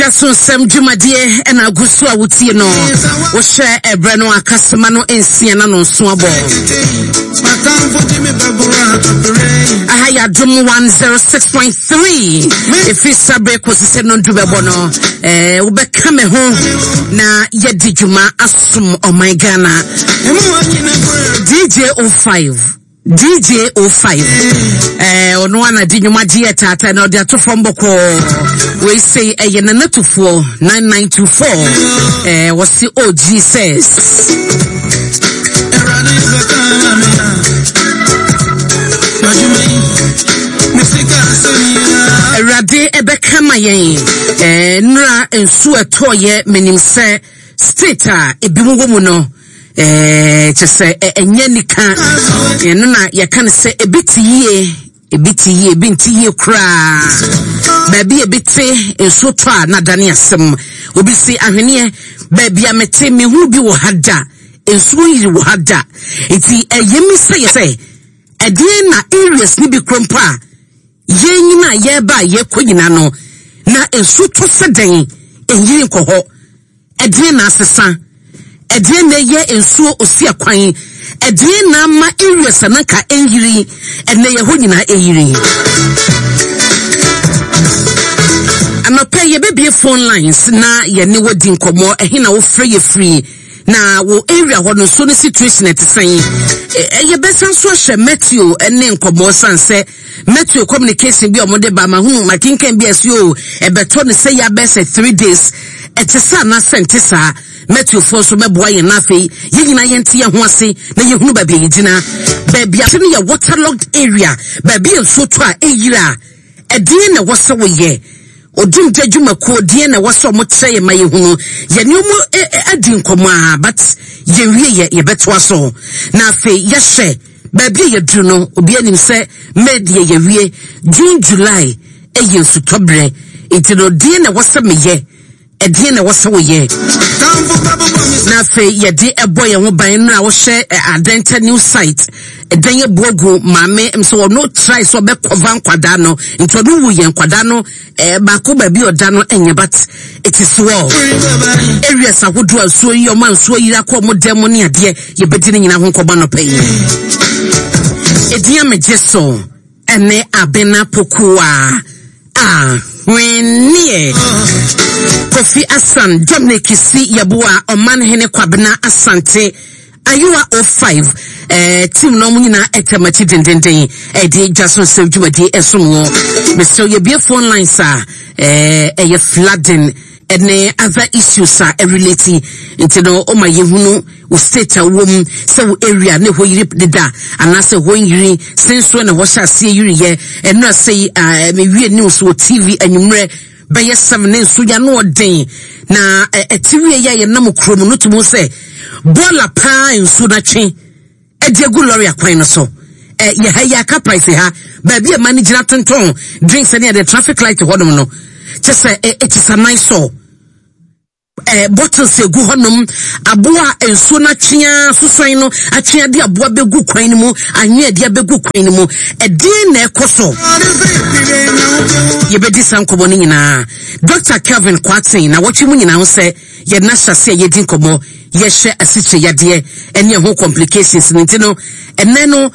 Dwa so nsɛm dwumadie ɛna agu so a wotie no. Wohyɛ ɛberɛ no akasema no nsia na no nso abɔ. Aha yɛ Adom 106.3. Ɛfiri saberɛ kɔsi sɛ nondu bɛbɔ no, eh, wobɛka me ho na yɛdi dwuma asom ɔman Ghana. DJ 05. DJ 05 eh, ɔno ana de nnwuma gye yɛ taataa na ɔde ato fam bɔkɔɔ. Wei sei ɛyɛ nanatufoɔ 9924 eh, wɔse oh Jesus. Awurade ɛbɛka ma yɛn eh, nnura nsu ɛtɔɔyɛ menim sɛ state a ebi mu wɔ mu no eh, kyɛ sɛ ɛnyɛ nika ɛno na yɛka no sɛ ebi te yie ebi te yie ebi nte yie koraa baabi ebi te nsuo tɔ a na adane asɛm obi si ahweneɛ baabi a mete mehu bi wɔ ha da nsuo yiri wɔ ha da nti ɛyɛ mi sɛ yɛ sɛ ɛdeɛn na areas ne bi kuro mpo a yɛn nyina yɛreba a yɛkɔ nyina no na nsuo tɔ sɛ dɛn ɛnyiri nkɔ hɔ. Ɛdeɛn na asesa? Ɛdeɛn na ɛyɛ nsuo osi akwan? Ɛdeɛn na ama areas a na nka ɛnyiri ɛnɛ yɛ hɔ nyinaa ɛyiri? Anɔpɛ yɛbɛbie phone lines na yɛne wɔ di nkɔmmɔ. Ɛhe na wofrɛ yɛ firi? Na wo area hɔ no nsuo no situation ɛte sɛn? Yɛbɛsan so ahyɛ Matthew ne nkɔmmɔ san sɛ Metro communication bi a wɔde ba mahunu makenkan bi a ɛsi o ɛbɛtɔ ne sɛ yɛ abɛɛ sɛ 3 days ɛte saa anaasɛ nte saa. Metrofoɔ nso bɛboa yɛn na afei yɛn nyinaa yɛnte yɛn ho ase na yɛhunu baabi a yɛgyina. Baabi a no yɛ waterlogged area, baabi a nsuo tɔ a ɛyiri a, ɛdeɛn na ɛwɔ sɛ woyɛ? Odumgya dwumakuo, deɛn na ɛwɔ sɛ ɔmo kyerɛ yɛn ma yɛhunu? Yɛne ɔmo adi nkɔmmɔ a, but yɛnwie yɛ, yɛbɛtoa so na afei yɛhyɛ baabi a yɛduru no. Obi anim sɛ May deɛ yɛwie, June, July ɛyɛ nsutɔberɛ, nti no deɛn na ɛwɔ sɛ meyɛ? Ɛdeɛn na ɛwɔ sɛ woyɛ na afei yɛde ɛbɔ yɛn ho ban? No a wohyɛ Adenta new site ɛdan abu agu maame sɛ ɔno try sɛ ɔbɛkɔva nkwadaa no, nti ɔno wu yɛn nkwadaa no baako baabi ɔda no ɛnyɛ, but it is well. Areas ahodoɔ a nsuo yi ɔma nsuo yiri akɔ ɔmo dan mu ne adeɛ, yɛbɛdi ne nyinaa ho nkɔmmɔ anɔpa yi. Ɛdin a megye so ɛne Abena Pokuwa a hweneɛ Kofi Asan Dominic si Yɛboa ɔman hene Kwabena Asante Ayewa 05 team no ɔmo nyinaa ɛtɛm akyi dendenden ɛde dwa so nsɛm dwumadie ɛsom wɔ. Mesrɛ yɛbie phone lines a ɛyɛ flooding ɛne other issues a ɛrelate, nti no ɔma yɛhunu wo state a wowɔ mu, sɛ wo area ne hɔ yiri deda anaasɛ hɔ nyiri sensoɔ na hɔ hyɛ aseɛ yiriyɛ. Ɛno asɛ yi mewie news wɔ TV anwummerɛ bɛyɛ 7 ne nso ya no ɔden na ɛte wie yɛ a yɛnam kurom no tumi sɛ bɔɔla paa nsuo no atwe ɛde agu lɔre akwan no so. Yɛ ha yi aka price ha baabi a ma no gyina tontɔn drinks ne ɛde traffic light hɔnom no kyɛ sɛ it is a nice saw bottles egu hɔnom, aboa a nsuo no atwea sosan no atwea de aboa bɛgu kwan no mu, anwea de abɛgu kwan no mu. Ɛdeɛn na ɛkɔ so? Yɛbɛdi saa nkɔmmɔ no nyinaa. Dr Kelvin Kwaten na wɔtwe mu nyinaa ho sɛ yɛn ahyɛ a yɛdi nkɔmmɔ yɛhyɛ asikyire yadeɛ ɛne ɛho complications no. Nti no ɛnɛ no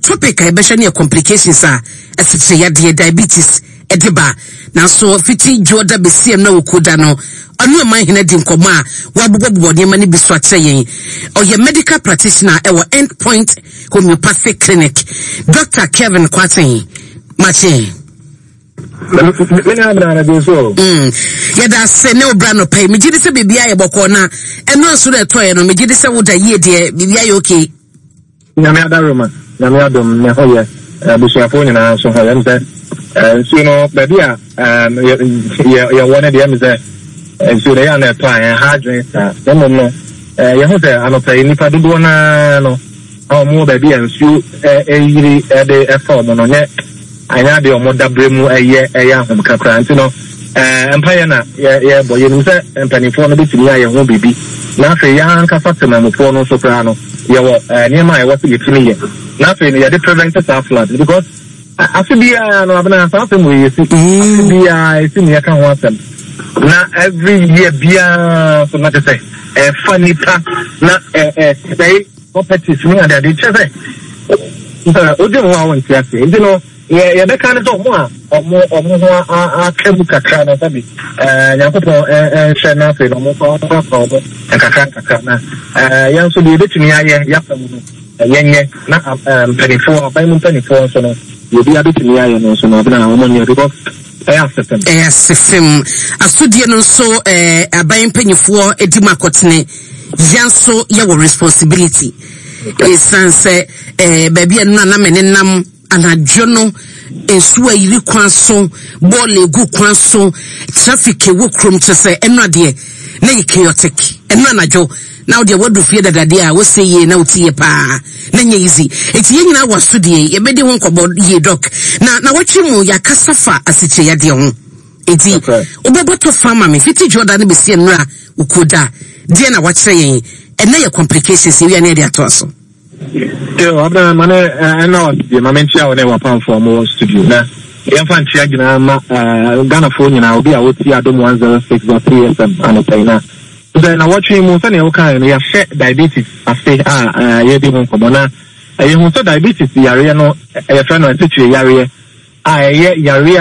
topic a yɛbɛhwɛ no yɛ complications a asikyire yadeɛ, diabetes, ɛde ba. Nanso fiti dwoɔda bɛsi ɛno a wɔkuo da no, ɔne ɔman hene di nkɔmmɔ a wɔabobɔbobɔ nneɛma no bi so akyerɛ yɛn. Ɔyɛ medical practitioner ɛwɔ End Point Homeopathic Clinic. Dr Kevin Kwaten, makye. Me ne abena na so. Yɛda ase ne wobra nɔpa yi. Megye di sɛ biribiaa yɛ bɔkɔɔ na ɛno nso na ɛtɔeɛ no, megye di sɛ woda yie deɛ, biribiaa yɛ okay. Nyame adaroma, Nyame adom ne ho yɛ, abusuafoɔ nyinaa nso ho yɛ. M sɛ nsuo no baabi a yɛwɔ no deɛ, m sɛ nsuo no ɛyɛ a na ɛtɔ a ɛha adwene saa, na mmom no yɛho sɛ anɔpa yi nnipa dodoɔ naa no a wɔn wɔ baabi a nsuo ɛyiri ɛde ɛfa wɔn no nyɛ anyɛ adeɛ a wɔn dabrɛ mu ɛyɛ ahomka koraa. Nti no mpaeɛ na yɛbɔ. Yɛnim sɛ mpanimfoɔ no bɛtumi ayɛ ho biribi, na afei yɛn ankasa temamufoɔ no nso koraa no yɛwɔ nneɛma a ɛwɔ sɛ yɛtumi yɛ na afei no yɛde prevent saa flood, because afe biara no abena saa asɛm wɔ yɛsi afe biara ɛsi ne yɛka ho asɛm. Na every year biara so na kyerɛ sɛ ɛfa nipa na ɛsɛe properties ne adeade kyerɛ sɛ wodwen ho a wonte aseɛ. Nti no yɛ yɛbɛka ne sɛ ɔmo a ɔmo ɔmo ho aka mu kakra no sɛbi ɛɛ Nyankopɔn ɛnhwɛ na afei no ɔmo nso ɔmprapra ɔmo nkakra nkakra na ɛɛ yɛn nso deɛ yɛbɛtumi ayɛ yɛafa mu no yɛnyɛ na mpanimfoɔ aban mu mpanimfoɔ nso no deɛ obiara bɛtumi ayɛ no nso no abena ɔmo nyɛ because ɛyɛ asefem. Ɛyɛ asefem. Asodie no nso ɛɛ aban mpanimfoɔ di mu akɔtene yɛn nso yɛwɔ responsibility. Ɛsiane sɛ ɛɛ baabi a nnura na mene nam anadwo no nsuo ayiri kwan so, bɔɔla egu kwan so, traffic ɛwɔ kurom kyerɛ sɛ ɛno adeɛ na yɛ chaotic. Ɛno anadwo na wodeɛ wadu fie dadadeɛ a wosɛ yie na wote yie paa na nyɛ easy. Eti yɛn nyinaa wɔ asodie yɛbɛdi ho nkɔmmɔ yie dɔk. Na na wɔtwe mu yɛakasa fa asikyire yadeɛ ho. Eti wobɛbɔ tɔ fa ma me fiti dwoɔda no bɛsi nnora okuo da deɛ na wakyerɛ yɛn ɛnɛ yɛ complications yɛwia ne yɛde atoa so. Yo, Abena, ma ne ɛna wa studio, ma menkyia wo ne wapamfoɔ a wɔwɔ studio na yɛmfa nkyia nyinaa ma Ghanafoɔ nyinaa, obi a wotie Adom 106.3 FM anɔpa yi na sɛ na wɔtwe mu sɛnea wokaeɛ no yɛahyɛ diabetes ase a yɛredi ho nkɔmmɔ na yɛhu sɛ diabetes yareɛ no yɛfrɛ no asikyire yareɛ a ɛyɛ yareɛ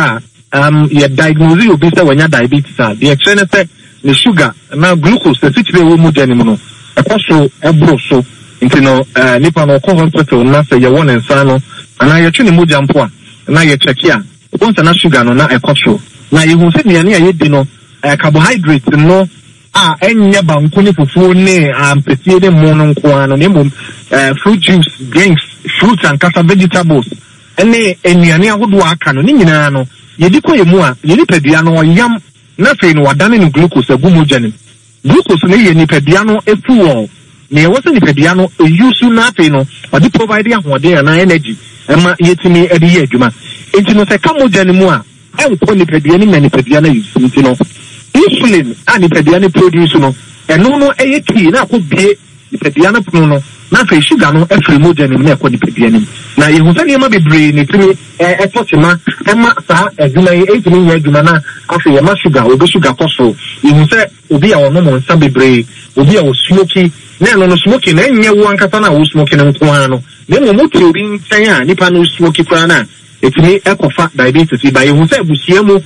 a um, yɛ diagnose obi sɛ wanya diabetes a, deɛ ɛkyerɛ ne sɛ ne sugar anaa glucose, asikyire a ɛwɔ mogya no mu no, ɛkɔ soro, ɛboro so. Nti no, eh, nipa no ɔkɔ hospital na sɛ yɛwɔ ne nsa ano anaa yɛtwe ne mogya mpo a, na yɛkyɛke a, wobɛhu sɛ na sugar no na ɛkɔ soro. Na yɛhu sɛ nnuane a yɛdi no, eh, carbohydrate no a ɛnyɛ banku ne fufuo ne ampesie ne mmo no nko ara no, na mmom eh, fruit juice, drinks, fruits ankasa, vegetables, ne nnuane ahodoɔ a aka no, ne nyinaa no, yɛdi kɔ yɛn mu a, yɛn nipadua no ɔyam na afei no wadane no glucose agu mogya no mu. Glucose no yɛ nipadua no fuel, nea ɛwɔ sɛ nipadua no use na afei no ɔde provide ahoɔden anaa energy ma yɛtumi de yɛ adwuma. Nti no sɛ ɛka mogya no mu a, ɛnkɔ nipadua no mu na nipadua no use. Nti no insulin a nipadua no produce no, ɛno no ɛyɛ key na akɔ bue nipadua no pono no, na afei sugar no firi mogya no mu na ɛkɔ nipadua no mu. Na yɛhu sɛ nneɛma bebree na ɛtumi tɔ kyema ma saa adwuma yi ɛntumi nyɛ adwuma na afei ɛma sugar, obi sugar kɔ soro. Yɛhu sɛ obi a ɔnom nsa bebree, obi a ɔsmoki, na ɛno no smoking no ɛnyɛ wo ankasa no a wosmoki no nko ara no, na mmom wote obi nkyɛn a nipa no smoki koraa no a, ɛtumi kɔfa diabetes yi ba. Yɛhu sɛ abusua mu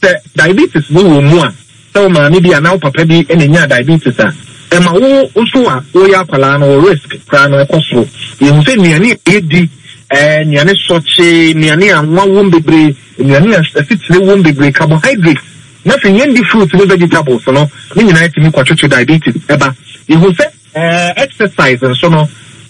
sɛ diabetes no wɔ mu a, Sɛ wo maame bi anaa wo papa bi na enyaa diabetes a, ɛma wo nso a woyɛ akwadaa no wo risk koraa no kɔ soro. Yɛhu sɛ nnuane a yɛdi, nnuane sɔkye, nnuane a anwa wom bebree, nnuane a asikyire wom bebree, carbohydrates, na afei yɛndi fruits ne vegetables no, ne nyinaa tumi kɔtwetwe diabetes ba. Yɛhu sɛ exercise nso no,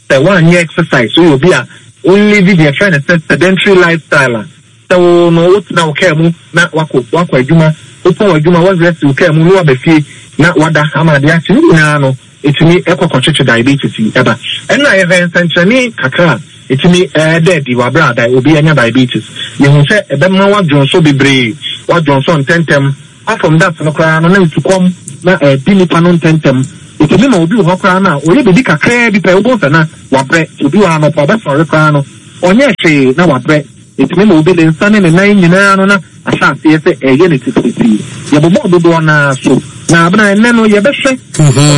sɛ woanyɛ exercise, woyɛ obi a wo live deɛ yɛfrɛ no sɛ sedentary lifestyle a, Sɛ wo no wotena wo kaa mu na wakɔ wakɔ adwuma, wopɔn w'adwuma woahuri asi wo kaa mu na waba fie na wada ama ade akye, ne nyinaa no ɛtumi kɔ kɔtwetwe diabetes yi ba. Ɛnna yɛhwɛ nsɛnkyerɛnne kakra a ɛtumi da adi wɔ aberɛ a obi anya diabetes. Yɛhu sɛ ɛbɛma woadwonsɔ bebree, woadwonsɔ ntɛntɛm, Apart from that no koraa no na nsukɔm na ɛdi nipa no ntɛntɛm. Ɛtumi ma obi wɔ hɔ koraa no a ɔyɛ biribi kakraa bi pɛ wobɛhu sɛ na wabrɛ. Nti obi wɔ hɔ anɔpa ɔbɛsɔre koraa no ɔnyɛɛ hwee na wabrɛ. Ɛtumi ma obi ne nsa ne ne nan nyinaa no na ahyɛ aseɛ sɛ ɛyɛ no titiritii. Yɛbobɔɔ dodoɔ no ara so. Na abena ɛnnɛ no yɛbɛhwɛ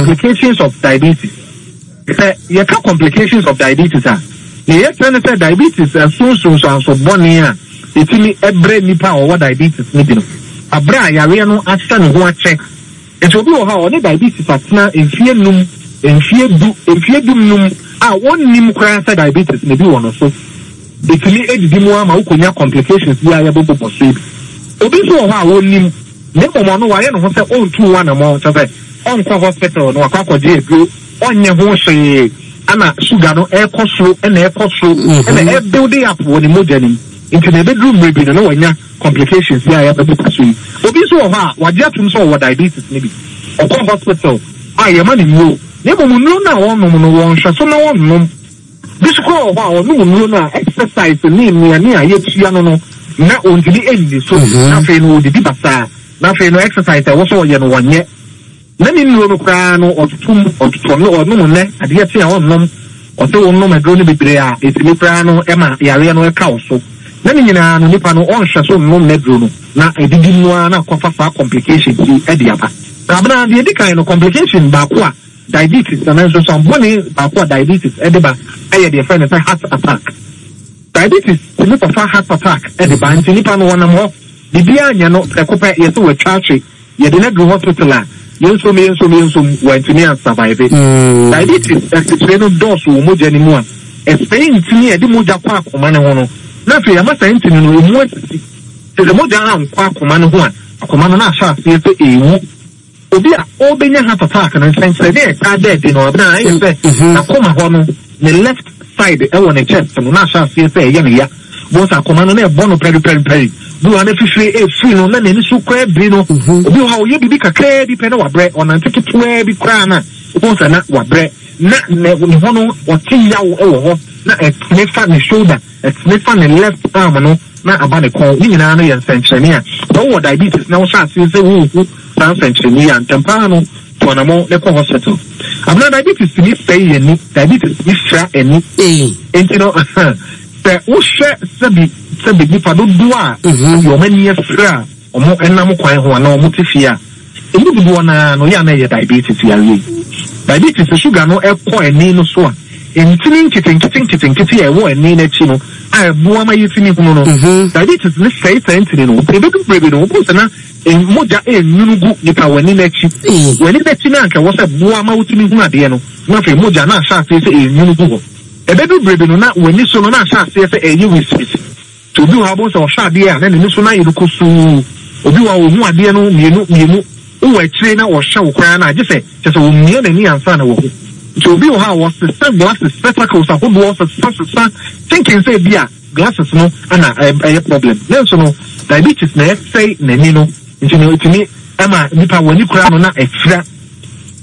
complications of diabetes. Sɛ yɛka complications of diabetes a, nea yɛkyerɛ ne sɛ diabetes ɛso nsunsuanso bɔne a ɛtumi brɛ nnipa a wɔwɔ diabetes no bi no, aberɛ a yareɛ no ahyɛ ne ho akyɛ. Nti obi wɔ hɔ a ɔne diabetes atena mfeɛ num, mfeɛ du, mfeɛ du nnum a ɔnnim koraa sɛ diabetes no bi wɔ no so. Ɛtumi didi mu ara ma wokɔnya complications yi a yɛbobobɔ so yi bi. Obi nso wɔ hɔ a ɔnnim, na mmom ɔno wayɛ ne ho sɛ ɔntu ho anammɔn, kyerɛ sɛ ɔnkɔ hospital na wakɔ akɔgye aduro, ɔnyɛ ho hwee, ɛna sugar no ɛrekɔ soro ɛna ɛrekɔ soro ɛna mm-hmm. ɛbuild up wɔ ne mogya no mu. Nti na ɛbɛduru mmerɛ bi no na wanya complications yi a yɛbɛbobɔ so yi. Obi nso wɔ hɔ a wagye atom sɛ ɔwɔ diabetes no bi. Ɔkɔ hospital a yɛma no nnuro, na mmom nnuro no a ɔnom no wɔnhwɛ so na ɔnnom. Bi nso koraa wɔ hɔ a, ɔnom nnuro no a, exercise ne nnuane a yɛtua no no, na ɔntumi nni so. Na afei no, ɔdidi basaa. Na afei no, exercise a ɛwɔ sɛ ɔyɛ no, ɔnyɛ. Na ne nnuro no koraa no, ɔtoto mu, ɔtotɔ no, ɔnom nnɛ, adeɛ kye a ɔnnom. Ɔse wonom aduro no bebree a, ɛtumi koraa no ma yareɛ no ka wo so. Na ne nyinaa no nipa no ɔnhwɛ so nnom n'aduro no na ɛdidi mu ara na akɔfa saa complications yi de aba. Na abena deɛ ɛdi kan no complication baako a diabetes anaa nsunsuan bɔne baako a diabetes de ba yɛ deɛ yɛfrɛ no sɛ heart attack. Diabetes tumi kɔfa heart attack de ba nti nipa no ɔnam hɔ biribiara nyɛ no prɛko pɛ yɛsɛ watwa ahwe yɛde no aduru hospital a yɛnsom yɛnsom yɛnsom wantumi ansurvive. Diabetes asikyire no dɔɔso wɔ mogya no mu a ɛsɛe ntini a ɛde mogya kɔ akoma no ho no na afei ama saa ntini no ɛmu asisi. Sɛ sɛ mogya ankɔ akoma no ho a akoma no na ahyɛ aseɛ sɛ ɛrewu. Obi a ɔrebɛnya heart attack no, nsɛnkyerɛnne a ɛtaa da adi no, abena ayɛ sɛ n'akoma hɔ no, ne left side wɔ ne chest no, na ahyɛ aseɛ sɛ ɛyɛ no ya. Bohu sɛ akoma no na ɛbɔ no pɛripɛripɛri. Bi wɔ hɔ a na fifire refiri no, na n'ani so koraa biri no. Obi wɔ hɔ a ɔyɛ biribi kakraa bi pɛ na wabrɛ, ɔnante ketewaa bi koraa no a, wobɛhu sɛ na wabrɛ. Na ne ho no, ɔte yaw wɔ hɔ, na ɛtene fa ne shoulder, ɛtene fa ne left arm no. na aba ne kɔn. Ne nyinaa no yɛ nsɛnkyerɛnne a sɛ wowɔ diabetes na wohyɛ aseɛ sɛ worehu saa nsɛnkyerɛnne yi a, ntɛm pa ara no tu anamɔn na kɔ hospital. Abena, diabetes tumi sɛe yɛn ani, diabetes tumi fira ani. Enti no, sɛ wohwɛ sɛbi sɛbi nnipa dodoɔ a sɛbi wɔn ani afira a wɔnam kwan ho anaa wɔte fie a, Emu dodoɔ no ara no, yɛ a na ɛyɛ diabetes yareɛ yi. Diabetes, sɛ sugar no kɔ ani no so a, ntini nketenkete nketenkete a ɛwɔ ani no akyi no a ɛboa ma yɛtumi hunu no, diabetes no sɛe saa ntini no. Nti ɛbɛdu berɛ bi no, wobɛhu sɛ na mogya renwunu gu nipa w'ani no akyi. W'ani no akyi no a anka ɛwɔ sɛ ɛboa ma wotumi hunu adeɛ no, na afei mogya no ahyɛ aseɛ sɛ ɛrenwunu gu hɔ. Ɛbɛdu berɛ bi no, na w'ani so no na ahyɛ aseɛ sɛ ɛreyɛ wisiwisi. Nti obi wɔ hɔ a wobɛhu sɛ ɔhwɛ adeɛ a na n'ani so no ayɛ no kusuu. Obi wɔ hɔ a ɔhu adeɛ no mmienu mmienu. Wowɔ akyire na ɔhwɛ wo koraa no a, gye sɛ kyerɛ sɛ ɔmia n'ani ansa na wahu. Nti obi wɔ hɔ a ɔsesa glasses, spectacles ahodoɔ sesa sesa thinking sɛ ebi a glasses no na ɛyɛ problem. Nanso no diabetes na ɛsɛe n'ani no. Nti no ɛtumi ma nipa w'ani koraa no na afira.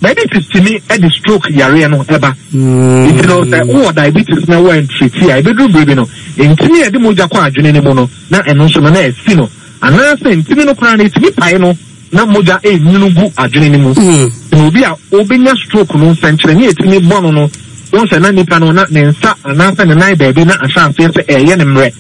Diabetes tumi de stroke yareɛ no ba. Nti no sɛ wowɔ diabetes na woantriti a, ɛbɛduru berɛ bi no, ntini a ɛde mogya kɔ adwene no mu no, na ɛno nso no na asi no. Anaasɛ ntini no koraa no, ɛtumi pae no na mogya ɛrenwunu gu adwene no mu. Nti no obi a ɔbɛnya stroke no, nsɛnkyerɛnne a ɛtumi bɔ no no, wohu sɛ na nipa no na ne nsa anaasɛ ne nan baabi na ahyɛ aseɛ sɛ ɛreyɛ no mmerɛ.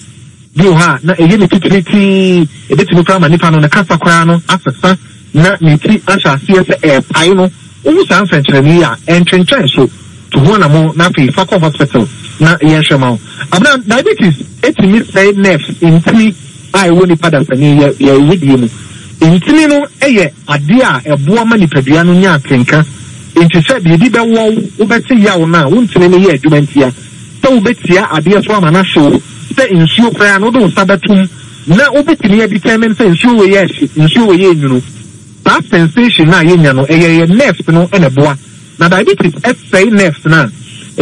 Bi wɔ hɔ a, na ɛyɛ ne titiritii, ɛbɛtumi koraa ma nipa no ne kasa koraa no asesa na ne ti ahyɛ aseɛ sɛ ɛrepae no. Wohu saa nsɛnkyerɛnne yi a, ɛntwentwɛn so, tu ho anammɔn na afei fa kɔ hospital na yɛnhwɛ ma wo. Abena, diabetes tumi sɛe nerves, ntini a ɛwɔ nipa dasani yɛ yɛn wedeɛ mu. Ntini no yɛ adeɛ a ɛboa ma nipadua no nya atenka. Enti sɛ biribi bɛwɔ wo, wobɛte yaw no a, wo ntini no yɛ adwuma ntia. Sɛ wobɛtia adeɛ so ama no ahye wo, sɛ nsuo koraa no wode wo nsa bɛto mu na wobɛtumi a determine sɛ nsuo wei yɛ hye, nsuo wei yɛ nwunu. Saa sensation no a yɛnya no, ɛyɛ yɛn nerves no na ɛboa. Na diabetes sɛe nerves no a,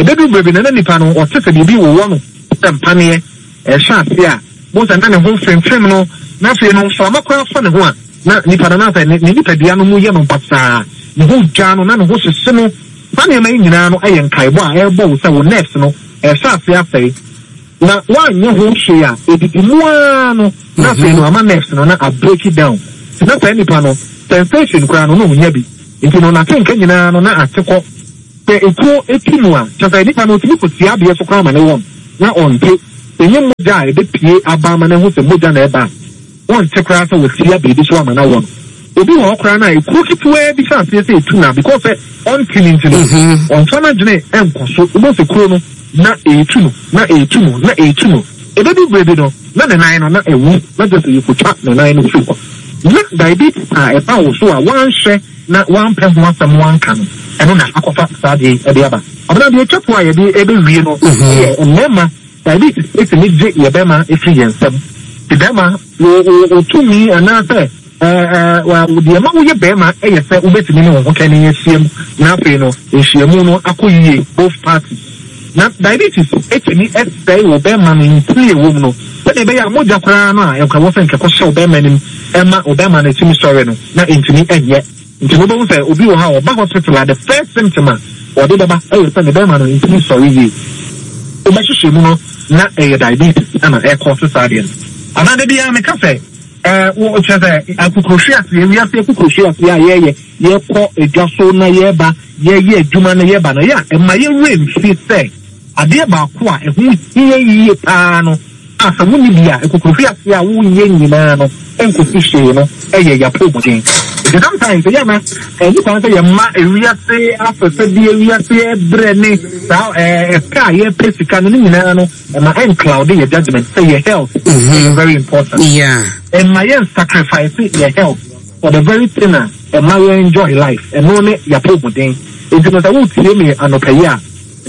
ɛbɛduru berɛ bi no na nipa no ɔte sɛ biribi wowɔ no sɛ mpaneɛ, ɛhyɛ aseɛ a, wobɛhu sɛ na ne ho femfem no, na afei no mframa koraa fa ne ho a, na nipa no anaasɛ ne nipadua no mu yɛ no basaa, ne ho dwa no, na ne ho hyehye no. Saa nneɛma yi nyinaa no yɛ nkaebɔ a ɛrebɔ wo sɛ wo nerves no rehyɛ aseɛ asɛe, na woanyɛ ho hwee a, ɛdidi mu ara no na afei no ama nerves no na a break down. Nti na saa nipa no sensation koraa no na ɔnnya bi. Nti no n'atenka nyinaa no na ate kɔ. Sɛ ekuo tu no a, kyerɛ sɛ nipa no ɔtumi kɔtia adeɛ so koraa ma no wɔn na ɔnte. Sɛ ɛnyɛ mogya a ɛbɛpue aba ama no ahu sɛ mogya na ɛreba a, Wonte koraa sɛ watia biribi so ama no awɔ no. Obi wɔ hɔ koraa no a ekuro ketewaa bi hyɛ aseɛ sɛ etu no a because sɛ ɔnte no nti no ɔmfa n'adwene nkɔ so. Wobɛhu sɛ kuro no na ɛretu no, na ɛretu no, na ɛretu no. Ɛbɛdu berɛ bi no na ne nan no na awu na kyerɛ sɛ yɛkɔtwa ne nan no firi hɔ. Na diabetes a ɛba wo so a woanhwɛ na woampɛ ho asɛm woanka no, ɛno na akɔfa saa adeɛ yi de aba. Abena, deɛ ɛtwa toɔ a yɛde rebɛwie no yɛ mmarima Diabetes tumi gye yɛ bɛma firi yɛn nsam. Nti bɛma, wo wo wo tumi anaasɛ ɛɛ ɛɛ deɛ ɛma woyɛ bɛma yɛ sɛ wobɛtumi ne wo ho kɛne ahyiam na afei no nhyiamu no akɔ yie both parties. Na diabetes tumi sɛe wo bɛma no ntini a ɛwɔ mu no sɛdeɛ ɛbɛyɛ a mogya koraa no a ɛwɔ sɛ nka ɛkɔhyɛ wo bɛma no mu ɛma wo bɛma no tumi sɔre no na ɛntumi nyɛ. Nti no wobɛhu sɛ obi wɔ hɔ a ɔba hospital a the first symptom a ɔde bɛba yɛ sɛ ne bɛrima no ntumi nsɔre yie. Wobɛhwehwɛ mu no na ɛyɛ diabetes na ɛrekɔɔse saa adeɛ no. Anaa da biara meka sɛ ɛɛ wo kyerɛ sɛ akukuruhweaseɛ, wiase akukuruhweaseɛ a yɛyɛ, yɛkɔ dwa so na yɛba, yɛyɛ adwuma na yɛba no, ɛyɛ a ɛma yɛn werɛ mfi sɛ adeɛ baako a ɛho hia yie paa no. a sɛ wonni bi a, nkokohwiase a woyɛ nyinaa no nkosi hwee no yɛ y'apɔwmuden. Nti sometimes ɛyɛ a na ɛnni kwan sɛ yɛma wiase afɛfɛdeɛ, wiase brɛ ne saa ɛpɛ a yɛpɛ sika no ne nyinaa no ɛma ɛncloude yɛ judgement sɛ yɛ health ɛyɛ very important. Ɛmma yɛn sacrifice yɛ health for the very thing a ɛma yɛn enjoy life, ɛno ne y'apɔwmuden. Nti no sɛ wotie me anɔpa yi a,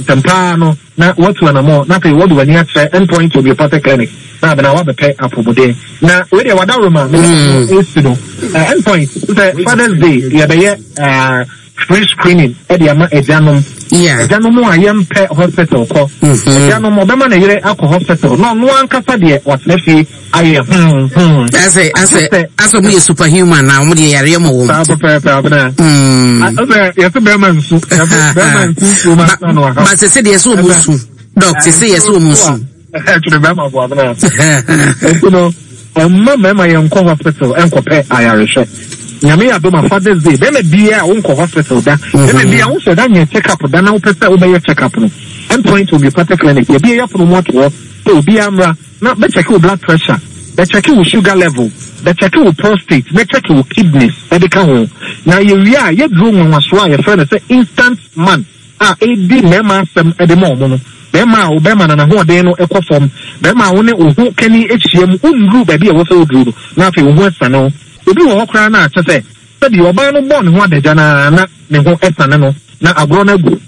ntɛm pa ara no na woatu anammɔn na afei wode w'ani akyerɛ End Point Homeopathic Clinic na abena woabɛpɛ apɔmuden. Na wei deɛ wadaworoma me ne no esi no. End Point sɛ Father's Day yɛbɛyɛ free screening de ama agyanom. Agyanom a yɛmpɛ hospital kɔ. Agyanom ɔbɛma ne yere akɔ hospital na ɔno ankasa deɛ watena fie ayɛ hmm hmm. Asɛ asɛ asɛ ɔmo yɛ superhuman na ɔmo deɛ yareɛ mɔ wɔn. Saa pɛpɛɛpɛ abena. Asɛ yɛsɛ bɛrima nsu yɛsɛ bɛrima nsu nsuo ma nsa no aha. Ba sɛ sɛ deɛ yɛsɛ ɔmo nsu dɔk sɛ sɛ yɛsɛ ɔmo nsu. Ɛtwere bɛrima bo abena. Nti no ɔmma mmarima yɛn nkɔ hospital nkɔpɛ ayarehwɛ. Nyame yɛ adom a Father's Day bɛrima biara a wonkɔ hospital da bɛrima biara wosɛ da nyɛ check up da na wopɛ sɛ wobɛyɛ check up no End Point Homeopathic Clinic yɛbie yɛapono mu ato hɔ sɛ obiara mmra Na bɛkyɛke wo blood pressure, bɛkyɛke wo sugar level, bɛkyɛke wo prostate, bɛkyɛke wo kidneys de ka ho. Na yɛwie a, yɛduro nwanwasoɔ a yɛfrɛ no sɛ instant man a ɛredi mmarima asɛm de ma wɔn no. Barima a wo bɛrima no n'ahoɔden no kɔ fam, barima a wo ne wo ho kani hyia mu, wonnuru baabi a ɛwɔ sɛ woduru no, na afei wo ho asiane wo. Obi wɔ hɔ koraa no a, kyerɛ sɛ, sɛdeɛ ɔbaa no bɔɔ ne ho adagya no ara na ne ho asiane no, na agorɔ no agu.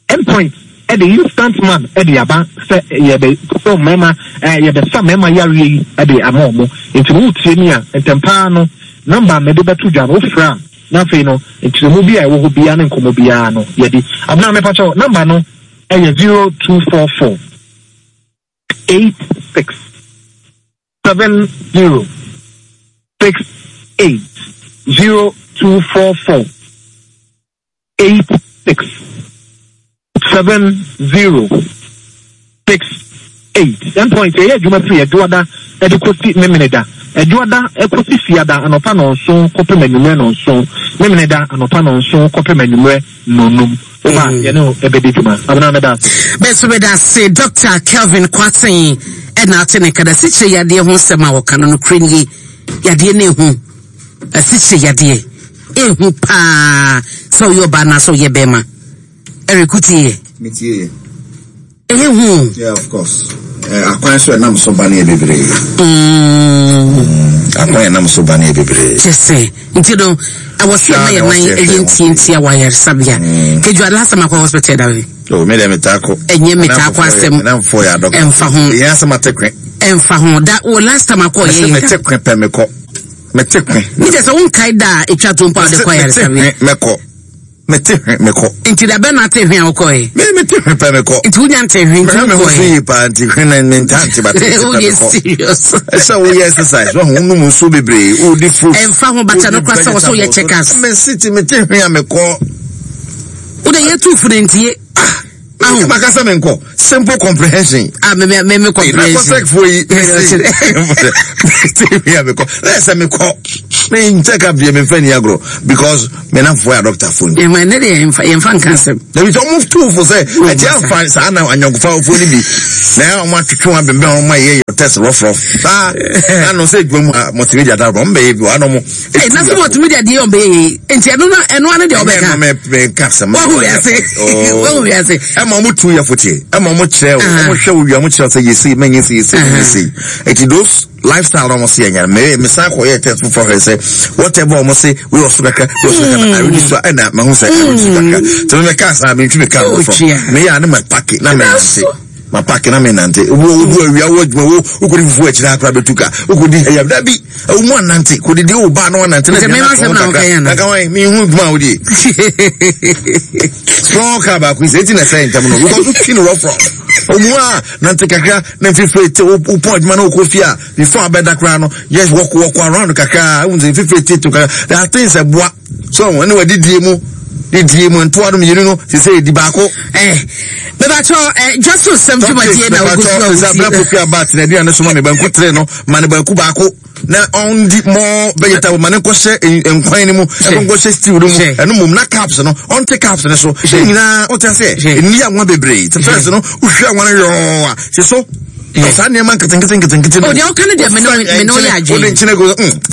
Endpoint de instant man de aba sɛ yɛbɛ sɛ mmarima yɛbɛsa mmarima yareɛ yi de ama wɔn. Nti no wotie mi a ntɛm paa no number a mede bɛto dwa no wofrɛ a na afei no nkyerɛmu bi a ɛwɔ hɔ biara ne nkɔmmɔ biara no yɛdi. Abena mepakyɛw number no yɛ 0244 86 70 68 0244. 8 6 7 0 6 8 End point yɛyɛ adwuma firi Adwoada de kɔsi Memeneda. Adwoada kɔsi Fiada anɔpa nnɔnson kɔpem anwummerɛ nnɔnson. Memeneda anɔpa nnɔnson kɔpem anwummerɛ nnɔnnum. Woba a yɛne wo bɛdi dwuma. Abena meda ase. Bɛso meda ase Dr. Kelvin Kwarteng ɛna ate ne nka na sikyire yadeɛ ho nsɛm a ɔka no nokorɛ nie yadeɛ no ehu. Asikyire yadeɛ ehu paa sɛ ɔyɛ ɔbaa anaasɛ ɔyɛ bɛrima. Eric wotie yɛ? Metie yɛ. Ɛyɛ hu. Yeah, of course. Eh, akwan so ɛnam so ba no yɛ bebree. Akwan ɛnam so ba no yɛ bebree. Kyɛ sɛ nti no ɛwɔ sɛ ɛma yɛ nan ɛyɛ ntiantia wɔ ayaresabea. Kedua last time akɔ hospital da bɛ. Oh, me deɛ metaa kɔ. Ɛnyɛ metaa kɔ asɛm. Ɛnamfoɔ yɛ adɔkɔ. Ɛnfa ho. Ɛyɛ asɛm ate kwe. Ɛnfa ho da wɔ last time akɔ yɛ yɛ. Mete kwe pɛ mekɔ. Mete hwe. Ne kyɛ sɛ wonkae da a ɛtwa to mpo a wode kɔ ayaresabea. Mete hwe mɛkɔ. Mete hwe mekɔ. Nti da bɛn na ate hwe a wokɔe? Me mete hwe pɛ mekɔ. Nti wonya nte hwe nti wokɔe. Me ho so yie paa nti hwe na me nta nte ba te pɛ mekɔ. Serious. Ɛsɛ woyɛ exercise wɔn ho nom nsuo bebree wodi fruit. Ɛnfa ho bata no kora sɛ wɔsɛ woyɛ check-ups. Me si ti mete hwe a mekɔ. Wode yɛ tu funu ntie. Ah. Ahu. Maka sɛ menkɔ. Simple comprehension. Ah, me me me comprehension. Na kɔsɛk fo yi. Mese mi mekɔ. Na sɛ mekɔ. Me check up deɛ memfa ni agorɔ because me namfoɔ yɛ doctor fo ni. Ɛma ne deɛ yɛmfa yɛmfa nka asɛm. Na bi sɛ ɔmo tu fo sɛ ɛkyɛ afa saa na anyɔnkofa fo ni bi. Na ɔmo atwetwe wɔn abɛnbɛn ɔmo ayɛ yɛ test rough rough. Saa na no sɛ adwuma mu a multimedia da ɔmo bɛyɛ bi wɔ ano ɔmo. Hey, na sɛ multimedia deɛ ɔbɛyɛ yei nti ɛno na ɛno ano deɛ ɔbɛka ɛno mɛka sɛm wahu wiase wahu wiase ɛma ɔmo tu yɛ foteɛ ɛma ɔmo kyerɛ ɔmo hwɛ wo wia ɔmo kyerɛ sɛ yɛsei mɛnyɛ sei yɛsei mɛnyɛ sei eti those lifestyle na ɔmo se yɛnyɛ mɛ mesan kɔ yɛ test foforɔ hwɛ sɛ whatever ɔmo se wei ɔso kakra wei ɔso kakra na aredi so ɛna mahu sɛ aredi so kakra tɛmɛ mɛka saa mentwi me kaa foforɔ meyɛ a ne ma paki na mɛnante ma paki na mɛnante wo wo awia wo adwuma wo wokɔdi fufuo akyire akora bɛtu ka wokɔdi hayam dabi Ewu mu anante kodidi wo ba na wanante na aduane atɔ ho kakra. Na ka wan mi hu dwuma a wodie. Small car baako yi sɛ eti na ɛsɛ ntɛm no because wotwi no rough rough. Omu a nante kakra na mfifire te wo pɔn adwuma na wokɔ fie a before abɛda koraa no yes walk walk around kakra ehu sɛ mfifire te to kakra. There are things ɛboa. So ɛne wadidie mu didie mu ntoa no mmienu no sɛ sɛ edi baako. Eh, mebatɔ eh, dwaso sɛm dwumadie na ogu so a wotie. Sɛ abira poku aba atena aduane so ma me banku tere no ma ne banku baako na ɔndi more vegetable ma ne nkɔhyɛ nkwan no mu ɛkɔ nkɔhyɛ stew no mu ɛno mmom na caps no ɔnte caps no so ne nyinaa wote aseɛ nni anwa bebree te fɛs no wohwɛ anwa no yɔɔ a hye so. Na saa nneɛma nketenkete nketenkete no. O deɛ ɔka no deɛ mene mene ɔyɛ adwene. Wode nkyene gu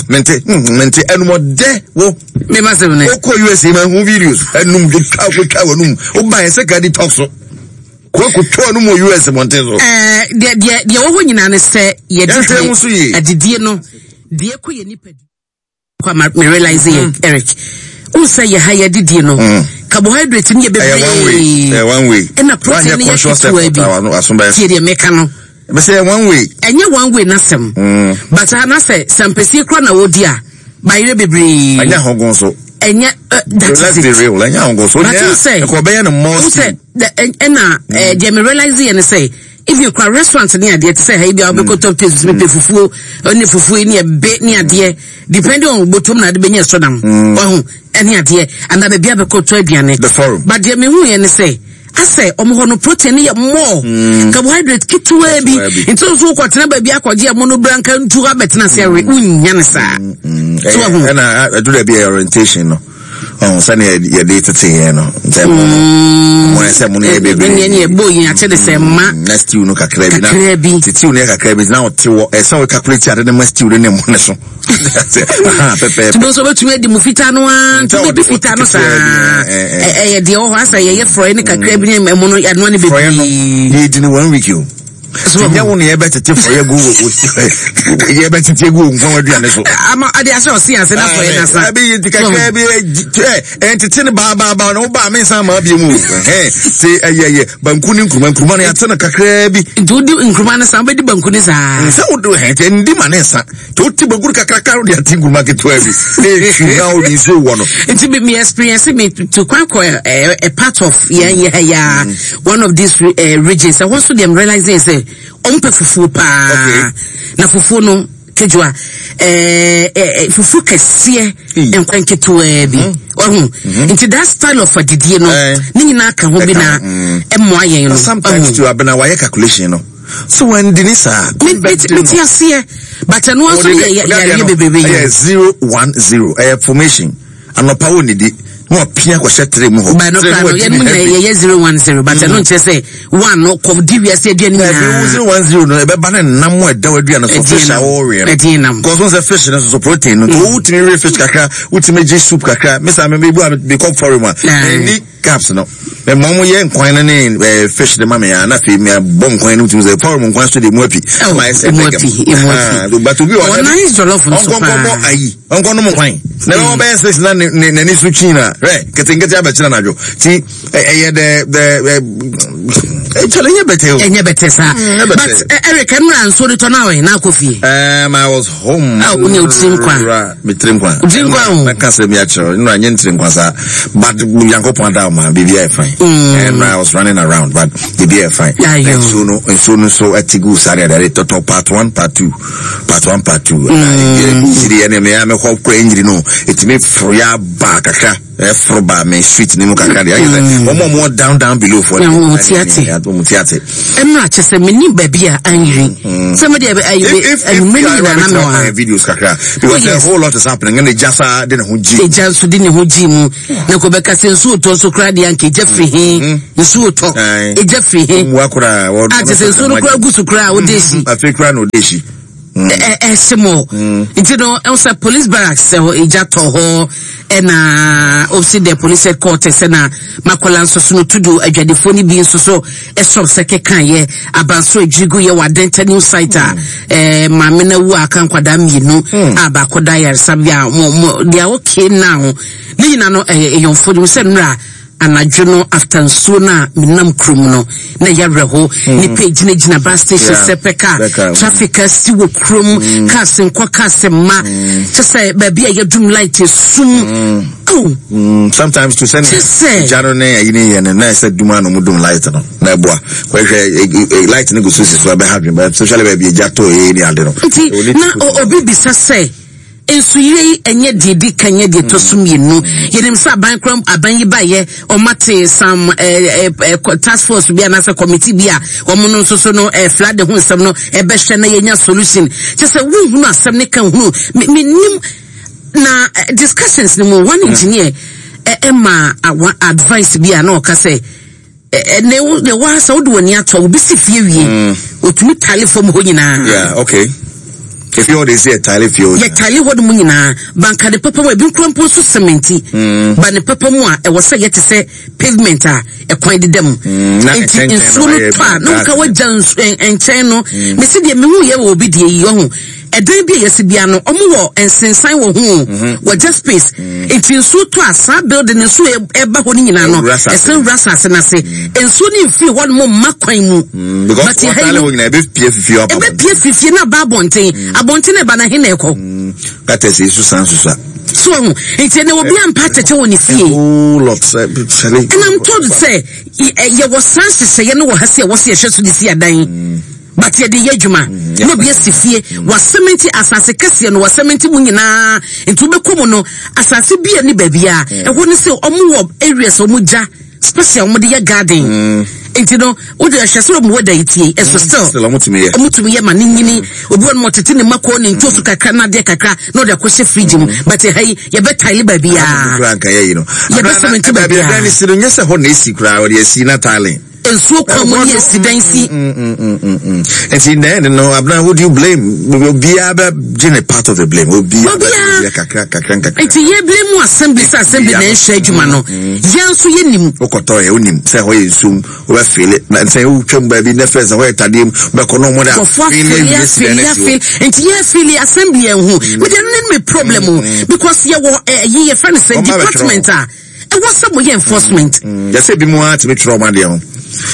mente mente ɛnum ɔdɛ wo. Mema sɛm ne. Wokɔ USA ma hu videos ɛnum twitwa kotwa w'anum woba yɛ sɛ ka di talk so. Kɔ kotwa w'anum wɔ US mmɔnten so. Ɛɛ deɛ deɛ deɛ wɔ hɔ nyinaa ne sɛ yɛdidie adidie no deɛ kɔ yɛ nipadua. Kwa ma me realize yɛ mm. Eric. N sɛ yɛ ha yɛ didie no. Mm. Carbohydrate ni yɛ bebree. Ɛyɛ one way. Ɛna protein ni yɛ ketewa bi. Tie deɛ meka no. Bɛsɛ yɛ one way. Ɛnyɛ one way n'asɛm. Mm. But ha n'asɛ sɛmpɛsie kura na wɔdi a bayerɛ bebree. Ɛnyɛ ahogon so. Ɛnyɛ eh, that is it. Let's be real ɛnyɛ ahogon so. But n sɛ ɛkɔ bɛyɛ no more stew. N sɛ ɛna eh, deɛ me realize yɛ ne sɛ. Even kora restaurant ne adeɛ te sɛ ha yi bi a wobɛkɔ top taste mepɛ fufuo ne fufuo yi ne ɛbe ne adeɛ depending on botom na ade bɛnya ɛsɔ nam wahu ɛne adeɛ anaa baabi a bɛkɔ tɔ aduane but deɛ mehu yɛ ne sɛ asɛ ɔmo hɔ no protein no yɛ more mm. carbohydrate ketewaa bi nti nso wokɔtena baabi akɔgye ɛmo no bra nka ntu abɛtena ase awe wonnya ne saa so wahu ɛna ɛduru baabi a orientation no ɔn sɛnea yɛde tete yɛn no sɛ mo no mm. mo sɛ mo no yɛ bebree ɛnneɛ ne ɛbɔ yin akyɛ de sɛ ma mm, na stew no kakra bi kakra bi stew no yɛ kakra bi na ɔte wɔ ɛsɛ wɔ calculate ade ne ma stew no ne mo ne so pɛpɛɛpɛ tumi nso bɛtumi adi mu fitaa no ara nti wobɛdi fitaa no saa ɛyɛ deɛ wɔ hɔ asɛ yɛyɛ frɔe ne kakra bi ne ɛmo no ɛnoa ne bebree frɔe no yɛdi no one week o ti nyɛ wo na yɛbɛtete fɔyɛ gu wɔ yɛbɛtete gu wɔ nkwan aduane so. ama ade ahyɛ ɔsi ase na fɔyɛ na sa. ɛbi yi kakra bi ɛ ɛntete ne baabaaba na ɔba mi nsa ama abie mu ɛhɛn te ɛyɛ yɛ banku ne nkuruma nkuruma no yɛate no kakra bi. nti wodi nkuruma no sa wobɛdi banku ne saa. nsa wodi hɛn te ndi ma ne nsa te wote banku no kakraka wode ate nkuruma ketewa bi na etwi na wode nsuo wɔ no. nti mi mi experience mi to kwan kɔ ɛ a part of yɛn yɛ ya. One of these uh, regions ɛhɔ nso deɛ realize sɛ wɔn pɛ fufuo paa na fufuo no kejuwa ɛɛ eh, eh, fufuo kɛseɛ nkwan ketewaa bi ɔho mhm. mhm. nti that style of adidie no eh. ne nyinaa ka ho bi na mm. ɛmmoa yɛn no. sometimes too abena wayɛ calculation no so wɔn di ni saa. mi ti aseɛ but ɛno nso yɛ yareɛ bebrebe yɛ. ɛyɛ 010 ɛyɛ formation. Anɔpa wo nnidi na wapia kɔhyɛ tray mu hɔ. Ba no kora no yɛn mu nyinaa yɛyɛ 010 but ɛno nkyerɛ sɛ one no kɔ di wiase aduane nyinaa. Ɛbi wo 010 no ɛbɛba ne nam a ɛda w'aduane so fish a wɔrewe no. Ɛdeɛ nam. Kɔsɔn sɛ fish no soso protein no. Mm. Wotumi we fish kakra wotumi gye soup kakra mesa me mebu a mekɔ forum a. Ɛni caps no. Mɛ mo yɛ nkwan no ne eh, fish de ma me a na afei me abɔ nkwan no tumi sɛ forum nkwan so de mu api. Oh, emu api emu api. But obi wɔ hɔ. Ɔnan jollof nso paa. Ɔnkɔnkɔbɔ ayi. Ɔnkɔ nom kwan. Na ɛbɛma bɛyɛ six na n'ani so kyin na hwɛ nketenkete abɛkyerɛ anadwo. Ti ɛyɛ dɛ dɛ ɛkyɛlɛ ɛnyɛ bɛtɛ o. Ɛnyɛ bɛtɛ saa. Mm, But Eric ɛnura nsuo de tɔ na ɔyɛ na akɔ fie. Um, I was home. Ah, o ní o tiri nkwa. Me tiri nkwa. O tiri nkwa o. Mɛka sɛ mi akyerɛ nnura nye ntiri nkwa saa. But Nyankopɔn ada ɔma biribi ayɛ fine. Mm. I was running around but biribi ayɛ fine. Nsuo no nsuo no so ɛte gu saa deɛ deɛ tɔtɔ part one part two. Part one part two. Nyiri mm. ɛne mea mekɔ kora nyiri no ɛtumi foro yɛ aba kakra ɛforo ba me street ne mu kakra deɛ ayɛ sɛ mm. wɔn a wɔn down down below fo wɔn ti ate wɔn ti ate. Ɛnu akyɛ sɛ mɛ ni baabi a anyiri mm. sɛ mo deɛ ɛnumere ni nyinaa na mɛ wɔ ha. Videos kakra because oh, a whole lot is happening ɛna egya saa de ne ho gyi. Egya nso de ne ho gyi mu na kò bɛka sɛ nsuo tɔ nso koraa deɛ anka egya firi he mm-hmm. nsuo tɔ egya firi he a kyɛ sɛ nsuo no koraa gu so koraa a ɔde esi. Afei koraa na ɔde esi. Ɛhyɛ mu nti no ɛwɔ sɛ police barracks ɛhɔ egya tɔ hɔ ɛna opsi the police headquarters ɛna makola nso so no tudu adwadifoɔ no bi nso so ɛsɔp sɛ keka yɛ abanso adwirigu yɛ wɔ adenta new site a ɛɛ maame na wu a aka nkwadaa mmienu a baako da ayaresabea mo mo they are okay now. Ne nyina no ɛyɛ ɛyɔnfo nim sɛ nnora anadwo no after nsuo no a menam kurom no na ɛyɛ awerɛho mm. nipa gyinagyina bus station sɛ pɛ kaa traffic asi wɔ kurom mm. cars nkɔ cars mma mm. kyɛ sɛ baabi a yɛdum light esum oh. Sometimes to send gya no ne ayi ne yɛ no na ɛsɛ dum a na ɔmo dum light no na ɛboa kɔhwɛ e, e, light no gu so si so ɛbɛha dwen especially baabi egya tɔ ee ne ade no. Nti na obi bisa sɛ. Nsuyire yi ɛnyɛ deɛ ɛdi kan nyɛ deɛ ɛtɔ so mmienu. Yɛnim sɛ aban kora aban yi baeɛ wɔate some eh, eh, eh, task force bi anaasɛ committee bi a wɔn no nso so no eh, flood ho nsɛm no ɛbɛhwɛ na yɛnya solution. Kyɛ sɛ wohunu asɛm ne ka hunu menim na eh, discussions no mu one engineer ɛma eh, advice bi a na ɔka sɛ. Ɛnɛ wo deɛ waa sɛ wode w'ani ato a obi si fie wie mm. otumi tale fam hɔ nyinaa. Yeah, okay. Efie hɔ de si yɛ tale fie hɔ. Yɛ tale hɔ no mu nyinaa banka ne papa mu ebi nkura mpo nso sementi. Mm. Ba ne papa mu a ɛwɔ sɛ yɛte sɛ pavement a ɛkwan deda mu. Mm, Nti nsuo no tɔ a na woka wagya nkyɛn no. Mesi deɛ mehu yɛ wɔ obi deɛ yi ɔho. Ɛdan bi a yɛsi bia no, ɔmo wɔ nsensan wɔ ho, mhm. wɔgya space. Mm. Nti nsuo tɔ a saa building no nsuo ɛba hɔ no nyinaa no, ɛsɛn wura asase n'ase. Mm. Nsuo no nfiri hɔ nom mma kwan mu. Mm, because wɔtale hɔ nyinaa ebepie fifie aba. Ebepie fifie na aba abɔnten. Abɔnten na ɛba na he na ɛkɔ. Katɛsi esu san susa. So ɔho nti ɛnna obi ampa atɛkyɛ wɔ ne fie. And I'm told sɛ yɛwɔ saa nhyehyɛeɛ no wɔ ha si a wɔsi ɛhwɛ so de si adan. But yɛde yɛ adwuma na obi asi fie wasɛmɛnti asase kɛseɛ no wasɛmɛnti mu nyinaa nti wobɛkɔ mu no asase bi a ne baabiara ɛhɔ ne sɛ ɔmo wɔ areas ɔmo gya special ɔmo de yɛ garden mm. nti no wode ɛhwɛ sɛ ɔmo wɔ da yi tie ɛso still ɔmo tumi yɛ ɔmo tumi yɛ ma ne nyini obi wɔ no ɔtete ne mako ne ntosu kakra na adeɛ kakra na ɔde akɔhyɛ fridge mu but ɛha yi yɛbɛ tile baabiara yɛbɛ sɛmɛnti baabiara baabi a ɛdan ne si no nyɛ sɛ hɔ na esi koraa ɔde asi na tiling nsuo kwan mu ne esi dan si. Nti in the end no abena who do you blame? Obiara bɛ gye ne part of the blame. Obiara bɛ gye kakra kakra nkakra. Nti yɛ blame mu assembly sɛ assembly na ɛnhwɛ adwuma no. Yɛn nso yɛ nim. Wokɔtɔ yɛ wonim sɛ hɔ yɛ nsuom wobɛ fele na sɛ wotwam baabi ne fɛ sɛ hɔ yɛ tadeɛ mu bɛkɔ no ɔmo de afele awie si dan asi hɔ. Nti yɛ fele assembly yɛn ho. Mede ɛno ne me problem o because yɛ wɔ ɛyi yɛ fɛ no sɛ department a. Ɛwɔ sɛ moyɛ enforcement. Mm, yɛsɛ bi mu ara tumi twerɛ ɔmo adeɛ ho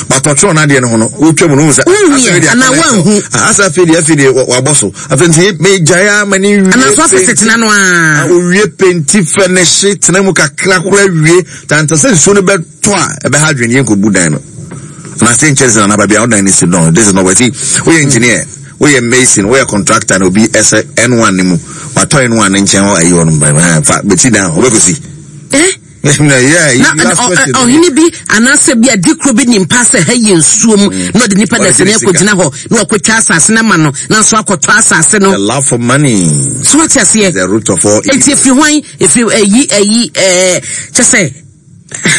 but ɔtwerɛ n'adeɛ no ho no wotwa mu no wohu sɛ wohu yɛ anaa woanhu ah, asɛ afei deɛ afei deɛ wabɔ so afei nti megyae ama ne wie anaa so afei sɛ tena no a ah, owie penti fɛ ne hye tena mu kakra kora wie tanta sɛ nsuo no bɛtɔ a ɛbɛha adwene yɛn kɔbu dan no anaasɛ nkyɛn sɛ nana baabi a wodan no si no this is not what woyɛ engineer Woyɛ mason, woyɛ contractor na obi ɛsɛ N1 no mu, watɔ N1 no nkyɛn hɔ ayi hɔ nom, fa bɛsi dan hɔ, wobɛkɔsi. Eh? Na ɔhene bi anaasɛ bi a dikuro bi nim paa sɛ ha yɛ nsuo mu mm. na ɔde nipa dasani akɔgyina hɔ na wakɔtwa asase no ama no na nso akɔtɔ asase no. The love for money. So wate aseɛ. The root of all evil. Eti efiri hwan efiri ɛyi ɛyi ɛɛ kyɛ sɛ.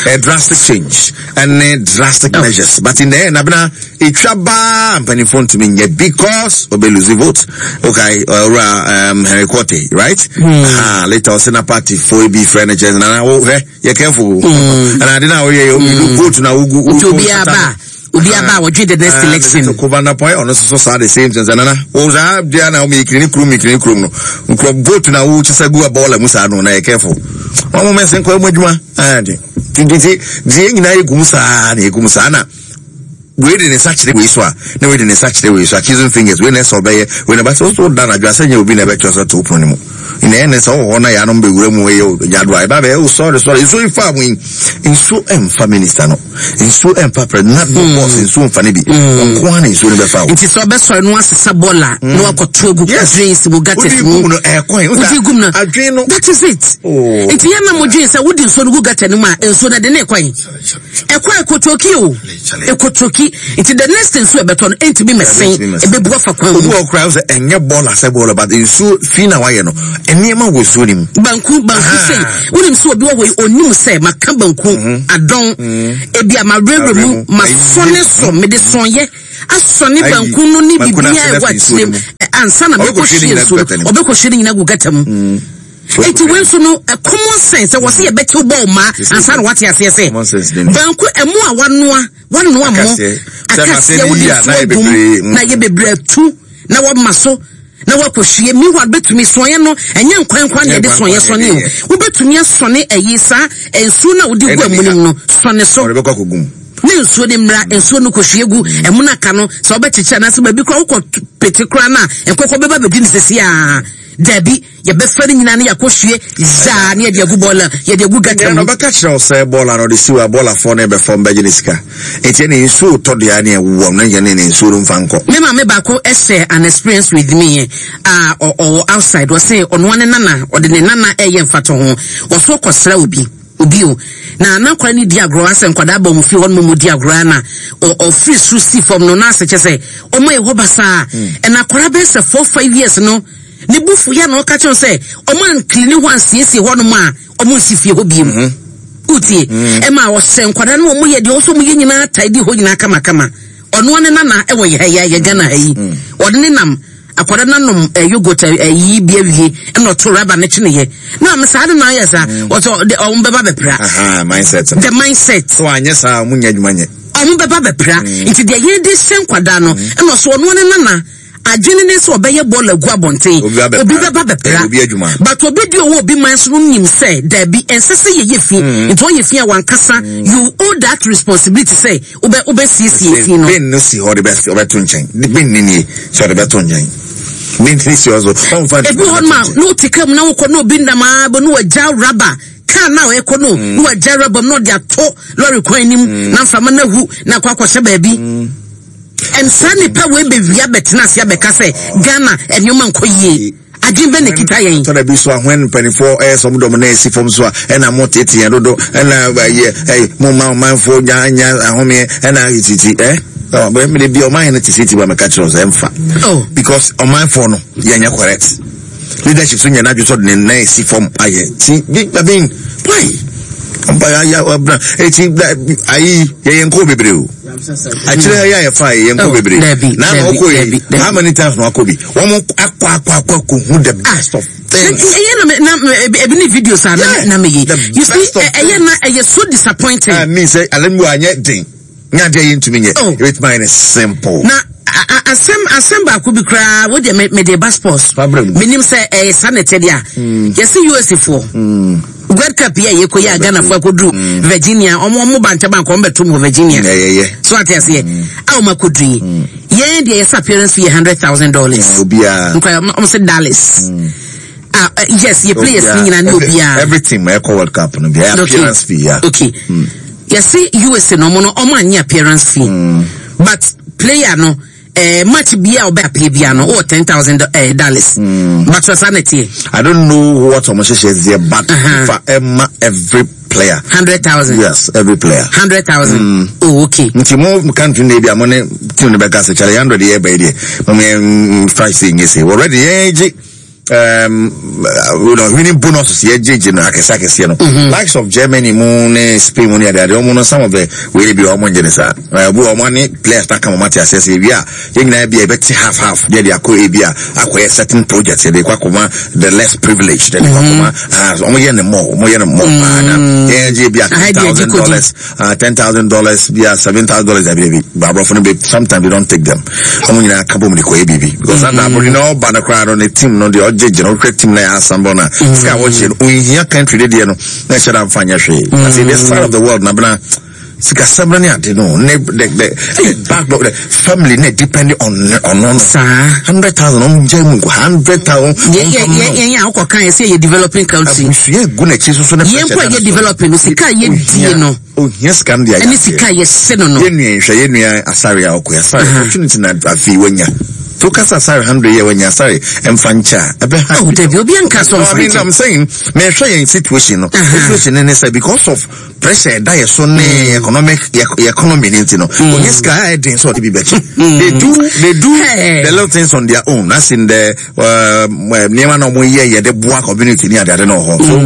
A drastic change ɛne drastic oh. measures but in the end abena etwa baa mpanimfoɔ ntumi nyɛ because obe lose vote okay ɔwura uh, um, Henry Quartey right mm. uh, later ɔsɛ na party foɔ bi frɛ ne kyɛn nana wo hwɛ yɛ careful ɛna mm. ade na ɔyɛ yɛ obi mm. vote na wogu wogu obi aba obi aba a wɔdwe the next ah, election. Kova na pɔn ɔno soso saa the same thing sɛ nana wo saa deɛ na wɔn ekiri ne kurom ekiri ne kurom no nkurɔ vote na wo kyesɛ gu abɔɔla mu saa no na yɛ careful wɔn mo mɛsɛn kɔ ɛmu adwuma ɛɛ de nti deɛ nyinaa yɛ gum saa na yɛ gum saa na wei de ne nsa kyerɛ wei so a na wei de ne nsa kyerɛ wei so accusing fingers wei na ɛsɛ ɔbɛyɛ wei na ɛbɛsɛ woso da anadwo asɛ nyɛ obi na ɛbɛkyerɛ sɛ to pono no mu na ɛne sɛ wowɔ hɔ na yɛanom bɛwura mu ɛyɛ nyado a ɛba bɛyɛ wo sɔre sɔre nsuo yi fa mu yi nsuo ɛmfa minister no nsuo ɛmfa pɛ na hmm. bɔs nsuo mfa no bi hmm. ɔnko ara na nsuo no bɛfa wo nti sɛ ɔbɛsɔre no asesa bɔɔla hmm. na wakɔto agu drains mu gutters mu wodi gum no adwene no that is it oh. nti yɛn na mo dwen sɛ wodi nsuo no gu gutter no mu a nsuo no ɛde ne kwan ɛkɔ ɛkotoki o ɛkotoki nti the next nsuo ɛbɛtɔ no ɛntumi mɛsen ɛbɛbu afa kwan mu obi wɔ koraa sɛ ɛnyɛ bɔɔla sɛ bɔɔla but nsuo fi na wayɛ no nneɛma wɔ nsuo no mu banku banku sei wonim sɛ obi wɔ hɔ yi onim sɛ maka banku mhm. adɔn mhm. ebi a mawerɛwerɛ mu masɔne so mede sɔnyɛ asɔne banku no ne biribiara ɛwɔ akyire mu ansa na mɛkɔhwie nsuo no ɔbɛkɔhwie no nyina gu gata mu mm. Eti wei nso no common sense ɛwɔ sɛ yɛbɛtew bɔɔl maa ansa na wate aseɛ sɛ banku ɛmo a wanoa wanoa mo akaseɛ wode nsuo agum mm. na yɛ bebree atu na wama so na wakɔhwie meanwhile bɛtumi sɔeɛ no ɛnyɛ nkwan nkwan na yɛde sɔeɛ sɔne o wobɛtumi asɔne ɛyi saa nsuo no a wode gu ɛmo no mu no sɔne so ne nsuo no mmra nsuo no kɔhwie gu ɛmo no aka no sɛ wobɛkyekyɛ anaasɛ baabi koraa wokɔ pete koraa no a nkɔkɔ bɛba bɛdi no sɛsi a Dabi, yɛbɛfa ne nyinaa na yɛakɔhwie zaa na yɛde agu bɔɔla, yɛde agu gata mu. Ɔbɛka kyerɛ wo sɛ bɔɔla no ɔde siw a bɔɔlafoɔ no bɛfam bɛgye ne sika. Enti ɛne nsuo tɔ deɛ ne ɛwowɔ no yɛ ne ne nsuo no mfa nkɔ. Me maame baako share an experience with me a ɔwɔ outside. Ɔse ɔnoa ne nana, ɔde ne nana ɛyɛ mfatoho. Ɔso ɔkɔsra obi. Obi o. Na na akwadaa no di agorɔ asɛ nkwadaa ba wɔn fie hɔ nom wɔn di agorɔ na ɔfiri soro si fam no na asɛ kyɛ sɛ wɔn ayɛ hɔ basaa. Ɛna akwadaa bɛyɛ sɛ 4, 5 years no ne bu fu ya na ɔka kyerɛ sɛ wɔn ankilini hɔ ansiesie hɔ nom a wɔn nsi fie hɔ biem. Wotie? Ɛma ɔhyɛ nkwadaa no wɔn yɛ deɛ ɔsɔ wɔn yɛ nyinaa tae di hɔ nyinaa kamakama. Ɔno ne nana ɛwɔ yɛ ha yi yɛ Ghana ha yi. Ɔde ne nam akwadaa no anom eh, yogurt ayi eh, bi awie ɛna ɔto raba no kyene yɛ. Na ame saa de na ayɛ saa. Ɔsɛ ɔde ɔmo bɛba bɛpra. Aha, mindset. The mindset. So anyɛ saa ɔmo nyɛ adwuma nyɛ. Ɔmo bɛba bɛpra. Nti deɛ yɛn de hyɛ nkwadaa no ɛna ɔsɛ ɔno ne nana adwene ne sɛ ɔbɛyɛ bɔɔl agu abɔnten. Obi bɛba bɛpra. But obi di ɔwɔ obi man so no nim sɛ daabi ɛnsɛ sɛ yɛyɛ fi. Nti ɔyɛ fi a wankasa you owe that responsibility sɛ wobɛ wobɛsiesie fi no. Bin no si hɔ de bɛ ɔbɛto nkyɛn. Bin ne nie sɛ ɔde bɛto nkyɛn. Bin ne si hɔ so ɔnfa. Ebi hɔ nom a na wote kaa mu na wokɔ na obi nam aa bɛ na wagya raba kaa na ɔrekɔ no na wagya raba mu na ɔde ato lɔre kwan anim na mframa no ahu na akɔ akɔhyɛ baabi. And saa nipa wei bɛwia bɛtena ase abɛka sɛ Ghana nneɛma nkɔ yie. Adwene bɛ na ɛkita yɛn. Tɔda bi so a when mpanimfoɔ ɛyɛ sɛ ɔmo dɔm na esi fam so a ɛna mo tete yɛn dodo ɛna ɛyɛ ɛyɛ mo ma ɔmanfoɔ nya nya ahomeɛ ɛna titi ɛ ɔ mede bi ɔman no te sɛ ti ba mɛka kyerɛ sɛ ɛmfa. Oh. Because ɔmanfoɔ no yɛnyɛ correct. Leadership so nyɛ n'adwene sɛ ɔde ne nan esi fam ayɛ ti bi I mean why? Ɔba ya ɔbra eti ayi yɛyɛ nkɔɔ bebree o. Akyerɛ yɛ a yɛfa yɛ yɛn kɔ bebree. Na ama ɔkɔ yi how many times na wakɔ bi? Wɔn akɔ akɔ akɔ akɔ hu the best of things. Ɛyɛ na na ebi ni videos a na na me yi. You see ɛyɛ na ɛyɛ so disappointing. I mean sɛ alɛ mu anyɛ den. Nyɛ adeɛ yɛ ntumi nyɛ. Ebetumi ayɛ ne simple. Na asɛm asɛm baako bi koraa wo deɛ me de ba sports. Menim sɛ ɛyɛ saa na ɛteɛ deɛ a. Yɛsi USA foɔ. World Cup yi a yɛkɔ yi a Ghana foɔ akɔduru mm. Virginia ɔmo ɔmo ba ntɛm ankɔ ɔmo bɛto mu wɔ Virginia so ate aseɛ mm. a ɔmo akɔduru yi mm. yɛn deɛ yɛsɛ appearance fee yɛ $100,000 nkwa ɔmo sɛ dollars. Ah, yes, yɛ players ni nyinaa ne obiara. Every team ɛkɔ World Cup no bi appearance fee ya. Okay. Yɛsi USA na ɔmo no ɔmo anyi appearance fee. But player no eh, match bia ɔbɛ appear bia no ɔwɔ 10,000 eh, dollars. But sɛ saa na ɛteɛ. I don't know what ɔmo hyehyɛ deɛ but fa ɛma every player. 100,000. Yes, every player. 100,000. Oh, okay. Nti mo country na ebi a mo ne team no bɛka sɛ kyɛlɛ 100 yɛ bɛyɛ deɛ mo yɛn fa se nye se already yɛn gye winning bonuses yɛ gye gye no akɛse akɛseɛ no likes of Germany mu ne Spain mu ne adeade ɔmo no some of the wei bi ɔmo ngye ne saa ɛbu ɔmo ne players na kama ɔmo ate aseɛ sɛ ebi a yɛn nyinaa bi a yɛbɛte half half deɛ de akɔ ebi a akɔyɛ certain project yɛde kɔ akɔma the less privileged yɛde kɔ akɔma ah ɔmo yɛ ne mɔ ɔmo yɛ ne mɔ paa na yɛn gye bi a $10,000 $10,000 bi a $7,000 dabi dabi aborɔfo no bi sometimes they don't take them ɔmo nyinaa ka bom de kɔyɛ biribi because mm. aborɔfo no ɔba no koraa no ne team no deɛ ɔgye gyina ɔhwɛ team na yɛ assemble na sika a wɔkyɛ no ohia country de deɛ no na ɛhyɛ da nfa nyɛ hwee mm. ase this side of the world na bena sikasɛm no ne ade no ne the the back the family ne depend on ɔno no saa 100,000 ɔmo gya mu nko 100,000 yɛn yɛn yɛn a wokɔ kan yɛ sɛ yɛ developing country abusua egu n'akyi soso ne yɛn mpo a yɛ developing no sika a yɛ die no ohia sika no de ayɛ ɛne sika a yɛhyɛ no no yɛn nua nhwɛ yɛn nua asare a ɔkɔ asare opportunity na afei wanya to kasa asare 100 yɛ wanya asare mfa nkyɛ a ɛbɛ ha oh dabi obi anka so mfa nkyɛ I'm saying mehwɛ yɛn situation no situation ne sɛ because of pressure ɛda yɛ so ne economic yɛ economy ne nti no onye sika a ɛden sɛ ɔde bi bɛkyɛ they do the little things on their own as in the nneɛma na wɔn yɛ yɛde boa community ne adeade na ɔhɔ so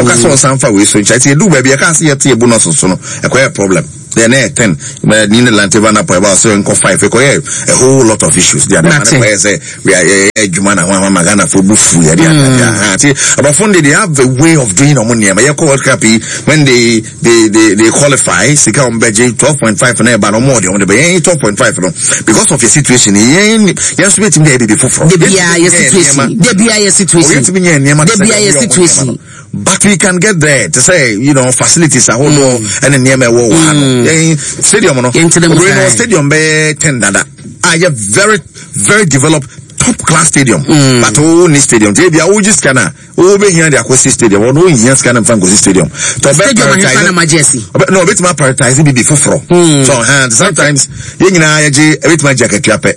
ɔka sɛ ɔsan fa wei so nkyɛn ti edu baabi ɛka sɛ yɛte ebu nɔso so no ɛkɔyɛ problem deɛ ne yɛ 10 ni ne lante va na pɔ ɛba ɔsɛ nkɔ 5 ɛkɔyɛ a whole lot of issues deɛ adeɛ ne kɔyɛ sɛ yɛ adwuma na ho ama Ghana fo bu fu yɛ de adeade aha ti aborɔfo de they have a way of doing ɔmo nneɛma yɛkɔ World Cup yi when they qualify sika ɔmo bɛgye 12.5 na ɛba no ɔmo ɔde ɔmo de bɛ yɛn 12.5 no because of your situation yɛn yɛn nso bɛtumi de ayɛ biribi foforɔ. Debi a yɛ situation debi a yɛ situation yɛtumi nyɛ nneɛma debi a yɛ situation. But we can get there to say you know facilities ahodoɔ ɛne nneɛma ɛwɔ wɔ ha no yɛn stadium no obìnrin no stadium bɛyɛ 10 dada a yɛ very very developed top class stadium but o ni stadium tí ebi a o gye sika na o bɛ hia de akɔsi stadium ɔno o hia sika na nfa nkosi stadium. Stadium ahefa na magye asi. No obetumi prioritize bibi foforɔ. So sometimes yɛn nyinaa yɛgye ebetumi agye akatua pɛ.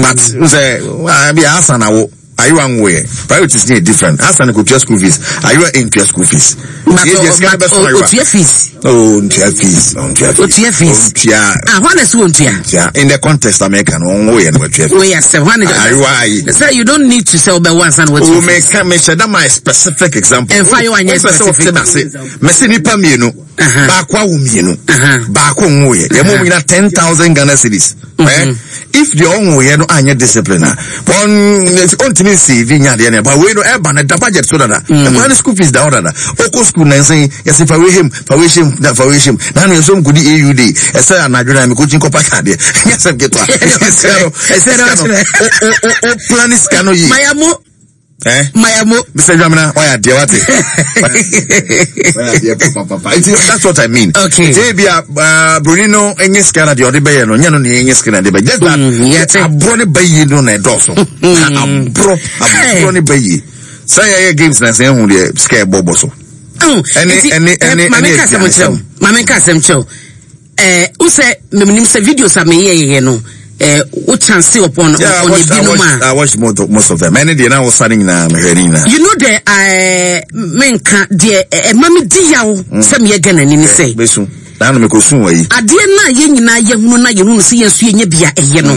But n sɛ bi asa na wo. Ayewa nwoeɛ. Priorities no yɛ different. Hassan kɔtua school fees. Ayewa ntua school fees. But otua fees. Oh, ntua fees. Ntua fees. Otua fees. Ntua. Ah, hwan na si wɔn tua? Ntua. In the context America no, wɔn yɛ no wɔtua fees. Wɔyɛ asɛm hwan na. Ayewa ayi. Sɛ you don't need to sɛ ɔbɛwɔ ansa na wɔtua fees. O mɛ ka mɛ hyɛ da ma specific example. Nfa ayewa nyɛ specific. Mɛ se nipa mmienu. Baako awo mmienu. Baako nwo yɛ. Yɛ mo nyina 10,000 Ghana cedis. Eh? If deɛ ɔnwo yɛ no anyɛ discipline a, wɔn ɔntumi nsave nya adeɛ no ɛba wei no ɛba no da budget so dada. Ɛkwan no school fees da hɔ dada. Ɔkɔ school nansa yi yɛsɛ fa wei hem fa wei hyɛm na fa wei hyɛm. Na ano yɛsɛ ɔmkɔdi AU day ɛsɛ anadwo na mekɔkyi nkɔpa kaadeɛ. Ɛnyɛ asɛm ketewa. Sika no sika no o o o plan sika no yie. Mayamo. Eh? Mayamo. Mr. Dwamena, why are dear what? That's what I mean. Okay. Nti ebi a broni no enye sika na deɛ ɔde bɛyɛ no, nyɛ no na enye sika na de bɛyɛ. Just that aborɔ ne bɛyie no na ɛdɔɔso. Aborɔ aborɔ ne bɛyie. Sɛ yɛyɛ games na sɛ ehu deɛ sika ɛbɔ bɔ so. Ɛne ɛne ɛne ɛne aduane sɛm. Maame nka asɛm kyerɛw. Eh, wo sɛ menim sɛ videos a meyɛ yɛyɛ no eh, wo chance upon yeah, on ebinom a. I watched most of, most of them. Ɛne deɛ na wosa no nyinaa mehwɛ ne nyinaa. You know the eh, menka deɛ ɛma eh, me di yaw sɛ meyɛ Ghana ni ne sɛ. Bɛsu. Na ano mekɔsu wɔ yi. Adeɛ no a yɛn nyinaa yɛhunu na yɛhunu sɛ yɛn nso yɛnyɛ bi a ɛyɛ no.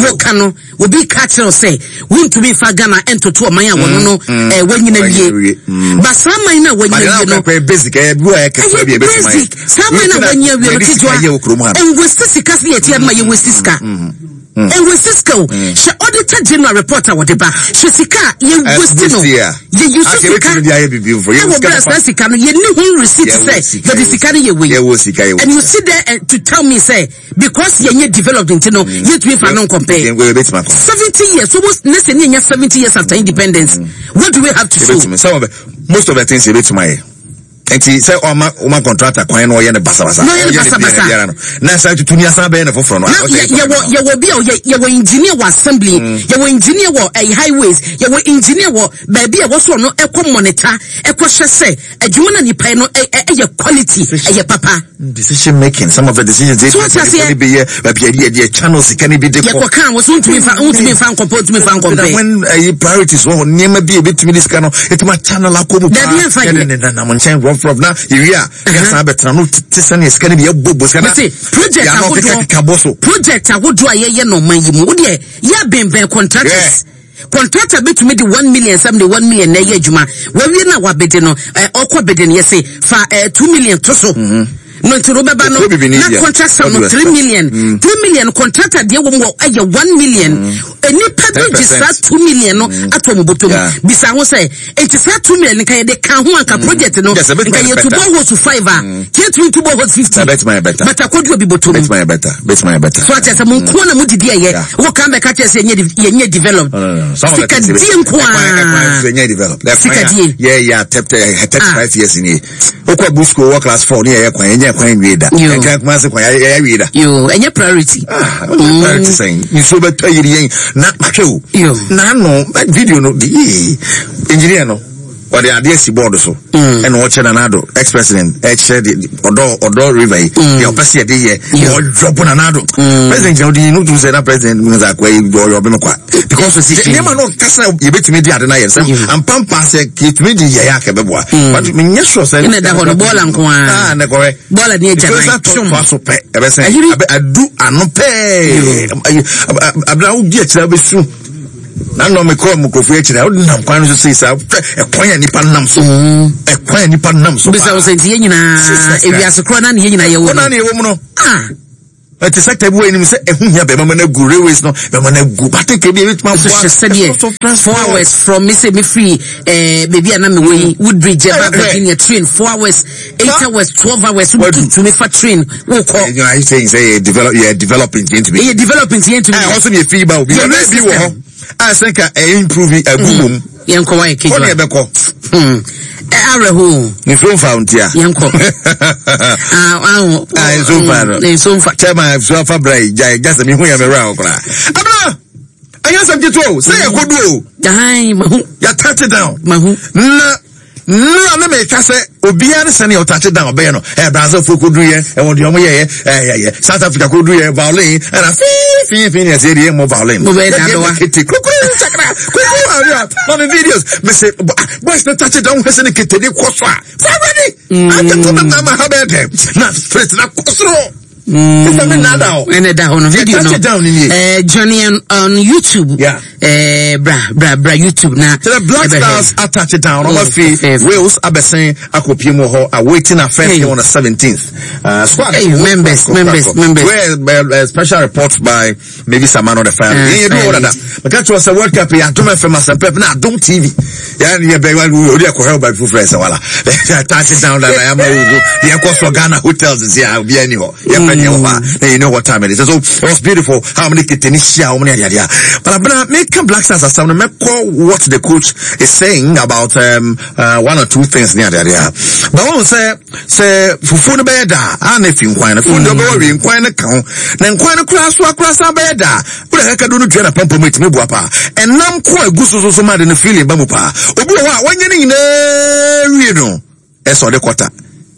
Woka no obi ka kyerɛ wo sɛ wontumi mfa Ghana ntoto ɔman a wɔno no mm, eh, wanyina wie mm. ba saa man no a wanyina wie no ɛyɛ basic saa man no a wanyina wie no ketewa ɛnwɛsi sika sɛ yɛte adoma yɛnwɛsi sika ɛnwɛsi sika o hyɛ auditor general report a wɔde ba hyɛ sika a yɛwɛsi no yɛyi so sika ɛwɔ berɛ a saa sika no yɛnni ho receipt sɛ yɛde sika no yɛ wei and you sit there eh, to tell me sɛ because yɛn nyɛ developed nti no mm. yɛntumi fa no nkɔmpɛ 70 years almost ne sɛ ne yɛnya 70 years after independence mm. what do we have to show some of the, most of the things yɛbɛtumi ayɛ nti sɛ ɔma ɔma contractor kwan na ɔyɛ no basabasa na ɔyɛ no basabasa biara no na san tutu ni asan bɛyɛ no foforɔ no na yɛwɔ yɛwɔ bi a ɔyɛ yɛwɔ engineer wɔ assembly mm. yɛwɔ engineer wɔ ɛyi eh, highways yɛwɔ engineer wɔ baabi a wɔsɔ no ɛkɔ monitor ɛkɔ hyɛ sɛ adwuma na nipa no ɛyɛ quality ɛyɛ papa. Decision making some of the decisions they so ɔte aseɛ bi yɛ baabi yɛde yɛde channel sika ne bi de kɔ. Yɛkɔ kan wɔ so ntumi nfa ntumi nfa nkɔmpɛ ntumi nfa nkɔmpɛ. When ɛyi eh, priorities wɔ hɔ nneɛma bi a ebetumi de sika no etumi channel akɔ mu paa. Dabi yɛn fa yɛ. Yɛde ne nanam nkyɛn rough rough na yɛwie a yɛsan abɛtena no te sɛ ne sika no bi yɛbɔ bɔ sika na. Project ahodoɔ project ahodoɔ a yɛyɛ no ɔman yi mu wo deɛ yɛ abɛnbɛn contractors. Yeah. Contractor bɛtumi de 1 million sɛm de 1 million na ɛyɛ adwuma wawie no a wabɛde no ɔkɔ bɛde no yɛse fa 2 million to so no nti no wobɛba no na contract sum no 3 million 3 million contractor deɛ wɔ mu wɔ ɛyɛ 1 million nipa bi gye saa 2 million no ato ɔmo bɔtɔ mu bisa ho sɛ nti saa 2 million nka yɛde ka ho anka project no nka yɛtu boreholes five a yɛtumi tu boreholes 50 but akɔdu obi bɔtɔ mu so akyɛ sɛ mo nko na mo didi ɛyɛ wo kan bɛka kyerɛ sɛ yɛnyɛ develop sikadie nko a sikadie yɛyɛ atɛptɛ 35 years nie wokɔ abu school wɔ class 4 ne yɛyɛ kwan yɛnyɛ kwan nwie da ɛnka kuma se kwan yɛyɛ wie da yo ɛnyɛ priority ah priority sɛn nsuo bɛtɔ yiri yɛn na mahwɛ o na ano video no yee engineer no ɔde adeɛ si board so ɛna ɔkyerɛ Nana Addo ex president ɛkyerɛ de ɔdɔ ɔdɔ river yi deɛ ɔpɛ sɛ yɛde yɛ ɔdwɔbo Nana Addo president gyina ɔde yi no tum sɛ na president mu sɛ akɔ yi ɔyɛ ɔbɛn kwa because nneɛma no kasa yɛbɛtumi de ade no ayɛ sɛ ampampa sɛ yɛtumi de yɛyɛ akɛ bɛboa but menyɛ sure sɛ ɛna ɛda hɔ no bɔɔla nko ara ne kɔhɛ bɔɔla ne agya nan twom so pɛ ɛbɛsɛn adu ano pɛɛ abena wodi akyerɛ bɛsu na nnɔ mekɔɔ mu nkurɔfoɔ akyiri a wode nam kwan no so sei saa hwɛ ɛkwan a nipa nam so ɛkwan a nipa nam so bisa wo sɛ nti yɛn nyinaa ewiase korɔ na ne yɛn nyinaa yɛwɔ no na yɛwɔ mu no ah ɛte sɛ bi wɔ anim sɛ ɛho hia bɛma ma no agu railways no bɛma no agu bateke bi ɛbɛtumi aboa hyɛ sɛdeɛ 4 hours from me sɛ mefiri eh, baabi a na mewɔ yi Woodbridge ɛba Virginia train 4 hours 8 hours 12 hours wotumi fa train wokɔ. ɛnyɛ ayi sɛ sɛ yɛ develop yɛ developing tiɛ ntumi. yɛ developing tiɛ ntumi. ɛ ɔsɔ ni efi ba obi yɛ bi wɔ hɔ a sɛ nka ɛ improve agu mom. Yɛn kɔ wa yɛ kejua. Kɔ ni ɛbɛ kɔ. Ɛ awerɛho. Nsuo nfa o ntia. Yɛn kɔ. Aho. Nsuo nfa no. Nsuo nfa. Chairman nsuo afa bra yi gya gya sɛ mi hu yɛ mi wura hɔ koraa. Abena ɛnyɛ sɛm ketewa o sɛ yɛ kɔ du o. Ayi mahu. Yɛ touch down. Mahu. Na nnura ne meka sɛ obiara ne sɛnea ɔtate down ɔbɛyɛ no ɛ Brazil fo kodu yɛ ɛwɔ deɛ ɔmo yɛyɛ ɛyɛyɛ South Africa kodu yɛ violin ɛna fii. Fi fi ne ɛsɛ yɛ mo violin. Mo bɛ da do wa. Kete kukuru sakra kukuru awia. Mami videos me se boys no touch down hwɛ sɛ ne kete ne kɔ so a. Sɛ ready. Ate to na ma ha bɛ dɛ. Na straight na kɔ soro. Sister me nada o. Ɛna da hɔ no video no. Touch down ni. Eh Johnny on YouTube. Yeah. Eh bra bra bra YouTube na. The Black Stars attach down. Ɔmo fi Wales abɛsen akɔpie mu hɔ awaiting our first game on the 17th. Squad. Hey, members, members, members. Where special report by maybe Samano the fire. Yeah, you do all that. But catch us a World Cup. Yeah, Adom FM, Asempa, na Adom TV. Yeah, yeah, baby, we already have by friends. Wala. Touch it down. That I am. Yeah, course for Ghana hotels is here. Be anywhere. Yeah, mm. You know what time it is. So it was beautiful. How many tennis how many idea. But I'm gonna make Black Stars as some make what the coach is saying about one or two things near there. But I say say fufu no bɛyɛ da a na efi nkwan no fufu no bɛwɔ wi nkwan no ka ho na nkwan no koraa so akora san bɛyɛ da wode kaka do no dua na pampam etumi boa paa ɛnam ko a egu so so so ma de no feeling ba mu paa obi wɔ hɔ a wɔnyɛ ne nyinaa wie no ɛsɛ ɔde kɔta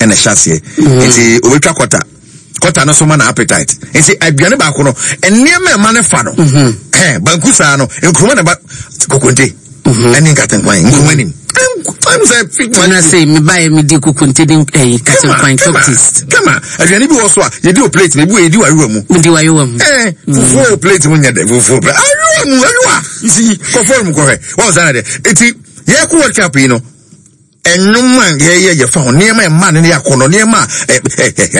ɛna ɛhyɛ aseɛ nti obetwa kɔta kɔta no so ma na appetite nti aduane baako no nneɛma ɛma no fa no ɛn banku saa no nkuruma na ba kokonte ɛne nkatenkwan nkuruma nim ɛn sɛ ɛna sɛ mebaeɛ medi kokonte ne ɛyi katenkwan top taste kama aduane bi wɔ so a yɛdi wɔ plate mu ebi wɔ yɛdi wɔ ayowa mu medi wɔ ayowa mu ɛn fufuo wɔ plate mu nyɛ dɛ fufuo plate ayowa mu ayowa nsi kɔfɔr mu kɔhwɛ wɔn sanni dɛ eti yɛkɔ World Cup yi no. Nnwom a yɛyɛ yɛfa ho nneɛma a ɛma ne yɛ akɔnɔ nneɛma a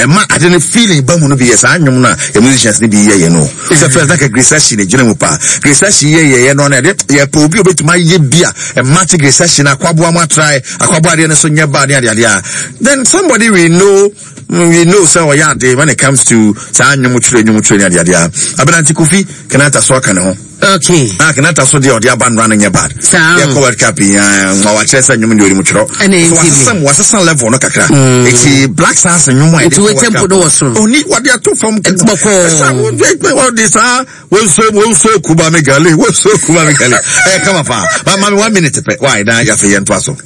ɛma ade no feeling ba mu no bi yɛ saa nnwom no a yɛ musicians no bi yɛ yɛ no sɛ first na ka Grace Ashi na gyina mu paa Grace Ashi yɛ yɛyɛ no na ɛde yɛpɛ obi a obetumi ayɛ bi a ɛma te Grace Ashi na akwaboa mu atrae akwaboa adeɛ no so nyɛ baa ne adeadeɛ a then somebody we know we know sɛ ɔyɛ ade when it comes to saa nnwom twerɛ nnwom twerɛ ne adeadeɛ a Abenante Kofi Kenata so aka ne ho. Okay. Ah, Kenata so deɛ ɔde aba nnora no nyɛ bad. Saa. Yɛkɔ World Cup yi ah, ma wakyerɛ sɛ nnwom deɛ ɔnim twerɛ. Ɛna So ɛnti wasesa mi. wasesa level no kakra. Eti Black Stars nnwom a yɛde Nti kɔ wo World tempo Cup. no wɔ soro. Oni wɔde ato fam. Bɔkɔɔ. Ɛsa wɔde saa wɔnso wɔnso kuba me gale wɔnso kuba me gale. Ɛyɛ kama paa. Ma ma me 1 minute pɛ. Why na yɛafei yɛntoa so.